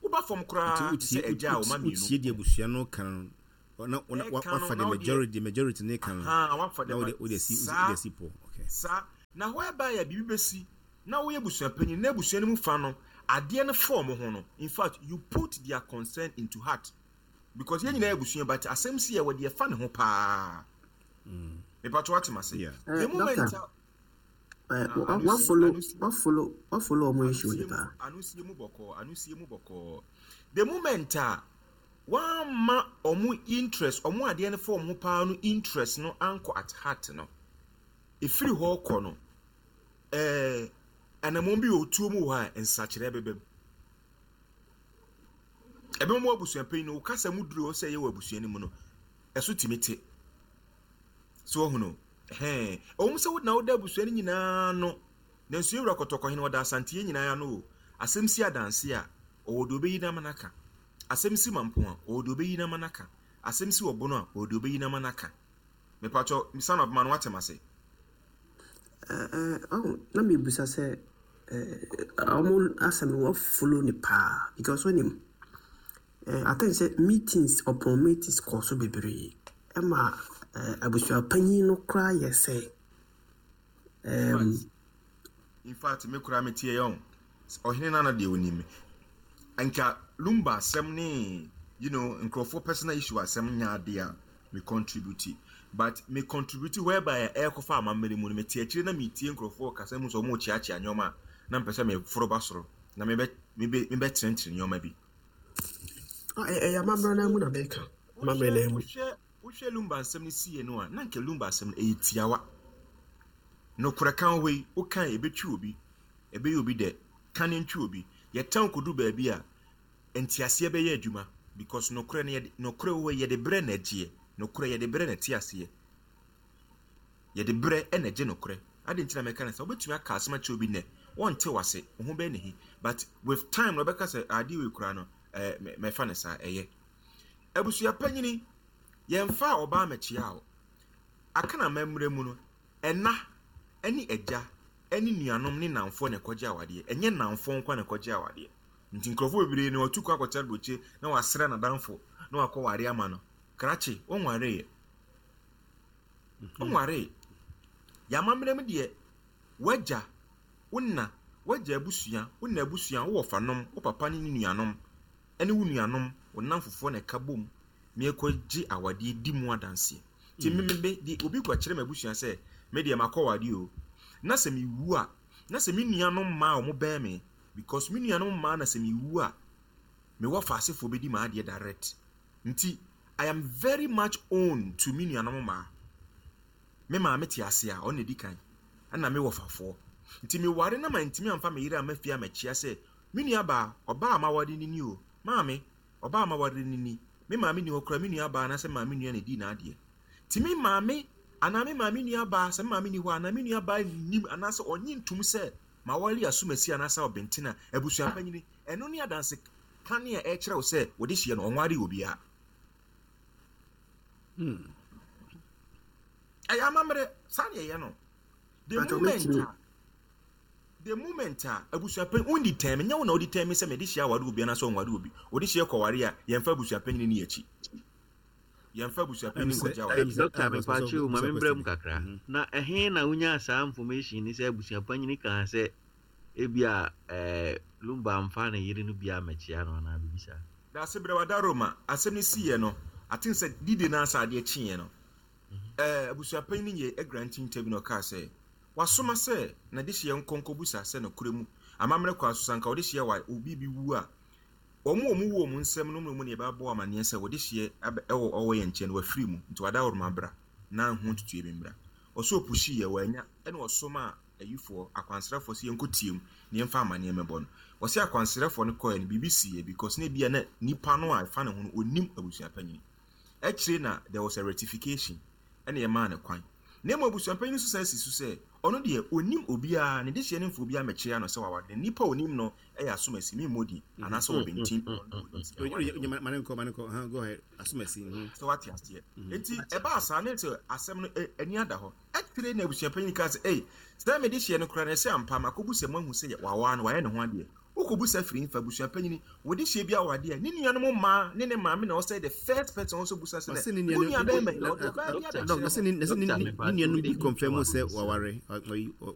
[SPEAKER 2] Woba fam koraa te sɛ agya a ɔma mmienu.
[SPEAKER 1] Wotie deɛ abusua no ka no, na wafa the majority, majority ne ka no, na wode wode asi wode asi pɔ. Okay.
[SPEAKER 2] Saa na whereby a biribi bɛsi na woyɛ abusua panyin na abusua no mu fa no adeɛ no fɔm ho no, in fact you put their concern into heart because yɛn nyinaa yɛ abusua, but asɛm si yɛ wɔ deɛ fa ne ho paa. Mepatɔ wate ma se the moment a
[SPEAKER 7] wa follow wa follow wa follow ɔmo issue ni paa.
[SPEAKER 2] Ano sie mu bɔkɔɔ, ano sie mu bɔkɔɔ. The moment a wamma ɔmo interest, ɔmo adeɛ no fɔm ho paa no, interest no ankɔ at heart no, efiri hɔ kɔ no, ɛɛ anamon bi wɔ otuo mu wɔ hɔ a nsakyerɛ bɛbɛ mu. Ɛbɛn mu abusua panyin no, kasa mu duro sɛ ɛyɛ wɔ abusua no mu no, ɛso tumi te so ɔho no ɛhɛn. Ɛwɔ sɛ wodena woda abusua no nyinaa no, nanso ewura Kɔtɔkɔhene ɔda Asanteɛ nyinaa ano o. Asɛm si adanse a, ɔwɔ deɛ ɔbɛyi n'ama n'aka. Asɛm si Mampo a, ɔwɔ deɛ ɔbɛyi n'ama n'aka. Asɛm si Ɔbono a, ɔwɔ deɛ ɔbɛyi n'ama n'aka. Mepatwɔ, son of man, wate ma se.
[SPEAKER 7] Ɛɛ ɔho na mebusa sɛ ɛɛ ɔmo asɛm no wɔ follow ne paa because wɔnim ɛɛ I think sɛ meetings upon meetings kɔ so bebree ɛma ɛɛ abusua panyin no koraa yɛ sɛ ɛɛm.
[SPEAKER 2] In fact, me koraa metie yɛn ɔhene nana deɛ onim nka Lumba asɛm ne you know nkurɔfoɔ personal issue asɛm nya adeɛ a me contribute, but me contribute whereby ɛrekɔfa amammerɛ mu no, mete akyire na metie nkurɔfoɔ kasa mu sɛ ɔmo kyeakyea nneɛma a na mpɛ sɛ meforo ba soro na mebɛ mebɛ mebɛkyerɛnkyerɛ nneɛma bi.
[SPEAKER 7] Ɛyɛ amammerɛ no mu na mɛka amammerɛ no mu.
[SPEAKER 2] Wohwɛ wohwɛ Lumba asɛm no sie no a, na nka Lumba asɛm no ɛyɛ tiawa. Nokorɛ ka hɔ yi, wokan ɛbɛtwi obi, ɛbɛyɛ obi dɛ, ka ne ntwi obi. Yɛtɛn kodu baabi a nteaseɛ bɛyɛ adwuma because nokorɛ no yɛde nokorɛ wɔ yɛde brɛ na agyeɛ. Nokorɛ yɛde brɛ na te aseɛ. Yɛde brɛ ɛna gye nokorɛ. Ade nti na mɛka no sɛ wobɛtumi aka asɛm akyerɛ obi nnɛ, wɔnte wase, wo ho bɛyɛ ne hi, but with time na ɔbɛka sɛ adeɛ wei koraa no, ɛɛ mɛfa no saa. Ɛyɛ abusua panyini, yɛmfa ɔbaa mɛkyia o. Aka na mɛmmerɛ mu no, ɛna ɛne agya ɛne nuanom ne namfoɔ na ɛkɔgye awadeɛ. Ɛnyɛ namfoɔ nko na ɛkɔgye awadeɛ. Nti nkurɔfoɔ bebree no wɔtu kɔ akɔkyɛ aburokye na wasrɛ n'adamfo na wakɔ ware ama no. Krakye wɔnwareeɛ, wɔnwaree. Yɛamammerɛ mu deɛ, wagya wo na wagya abusua, wo na abusua, wo wɔfanom, wo papa ne ne nuanom ɛne wo nuanom, wo namfofoɔ na ɛka bom na ɛkɔgye awadeɛ di mu adanseɛ. Nti mm. me de obi kɔkyerɛ m'abusua sɛ me deɛ makɔ wadeɛ o, na sɛ mewu a, na sɛ me nuanom mmaa a wɔn bɛn me, because me nuanom mmaa na sɛ mewu a, mewɔ faasefoɔ bɛdi m'adeɛ direct. Nti I am very much own to me nuanom mmaa. Me maame te ase a, ɔno na edi kan, ɛna me wɔ fafoɔ. Nti meware na ma ntumi amfa me yere a ma fie a mɛkyia sɛ me nua baa, ɔbaa a maware ni ni o, maame, ɔbaa a maware ni ni. Me maame ni hɔ koraa, me nua baa anaasɛ maame nua na edi n'adeɛ. Nti me maame anaa me maame nua baa, sɛ me maame ni hɔ anaa me nua baa nim anaasɛ ɔnye ntum sɛ maware asomasi anaasɛ ɔbɛnten a, abusua panyini ɛno ne adanse kane a ɛkyerɛ wo sɛ wɔde hyia no ɔnware obiara. Ɛyɛ amammerɛ saa ne ɛyɛ no. The moment a the moment a abusua panyin wondi tɛn me, nyɛ wo na wodi tɛn me sɛ mede hyia aware obi anaasɛ ɔnware obi. Wode hyia kɔware a, yɛmfa abusua panyin ni akyi, yɛmfa abusua panyin nkɔgye aware.
[SPEAKER 6] Doctor, mepaakyɛ o, ma membrɛ mu kakra. Na ɛhe na wonyaa saa information ni sɛ abusua panyin kaa sɛ ebia ɛɛ Lumba amfa ne yere no bi amɛkyia no anaa biribi saa?
[SPEAKER 2] Daase berɛ wada Roma asɛm no siiɛ no, aten sɛ dide no asa adeɛ kyeeɛ no, ɛɛ abusua panyin yɛ grant interview na ɔkaa sɛ wasoma sɛ na de hyia nkɔnkɔbusa sɛ nokorɛ mu amammerɛ kwan so sanka wɔde hyia wa obi bi wu a, wɔn a wɔn wu wɔn nsɛm no mu ne yɛbɛbɔ amanneɛ sɛ wɔde hyia ɛwɔ ɔwɔ yɛn nkyɛn no wafiri mu, nti wada Roma bra na ho tutuo bi mbra. Ɔsɛ ɔpushi yɛ wanya, ɛna ɔsoma ayifoɔ akwansrafoɔ sɛ yɛnkɔ tie mu na yɛmfa amanneɛ mɛbɔ no. Ɔsɛ akwansrafoɔ no kɔɛ no, biribi si yɛ because na ebia na nipa no a ɛfa ne ho no onim abusua panyin. Akyire na there was a rectification ɛna yɛmaa no kwan. Na mmom abusua panyin nso san si so sɛ Ɔno deɛ onim obiara, ne dehyeɛ ne mfa obiara mɛkyerɛ no sɛ waware. Na nipa a onim no ɛyɛ asomasi, mi mmɔ din anaasɛ ɔbɛntin.
[SPEAKER 1] Mane nkɔ, mane nkɔ. Huh, go ahead. Asomasi. mhm.
[SPEAKER 2] Sɛ wate aseɛ, nti ɛbaa saa ne sɛ asɛm no ɛ- ani ada hɔ ɛtire na abusuapanyin ka sɛ, ei, sɛ mede hyeɛ no koraa no, ɛsɛ ampa makɔbu sɛ moahu sɛ wawaa no, wayɛ ne ho adeɛ. Wokɔbu sɛ firi mfa abusuapanyin wɔde hyɛ bi awadeɛ a ne nuanom mmaa ne ne maame na ɔsɛ the first person ɔnso busa sɛ
[SPEAKER 1] Ɔsɛ ne
[SPEAKER 2] wo nua
[SPEAKER 1] nuanom
[SPEAKER 2] bɛrima yi, ɔde ɔbaa bi
[SPEAKER 1] Doc,
[SPEAKER 2] abɛkyerɛ
[SPEAKER 1] ɔsɛ ne ne ne
[SPEAKER 6] Doctor,
[SPEAKER 1] ne
[SPEAKER 6] mepa
[SPEAKER 1] nuanom
[SPEAKER 6] kyɛw,
[SPEAKER 1] bi
[SPEAKER 6] wei
[SPEAKER 1] confirm
[SPEAKER 6] de
[SPEAKER 1] sɛ
[SPEAKER 6] me
[SPEAKER 1] waware. Ɔ- ɔyi- ɔ-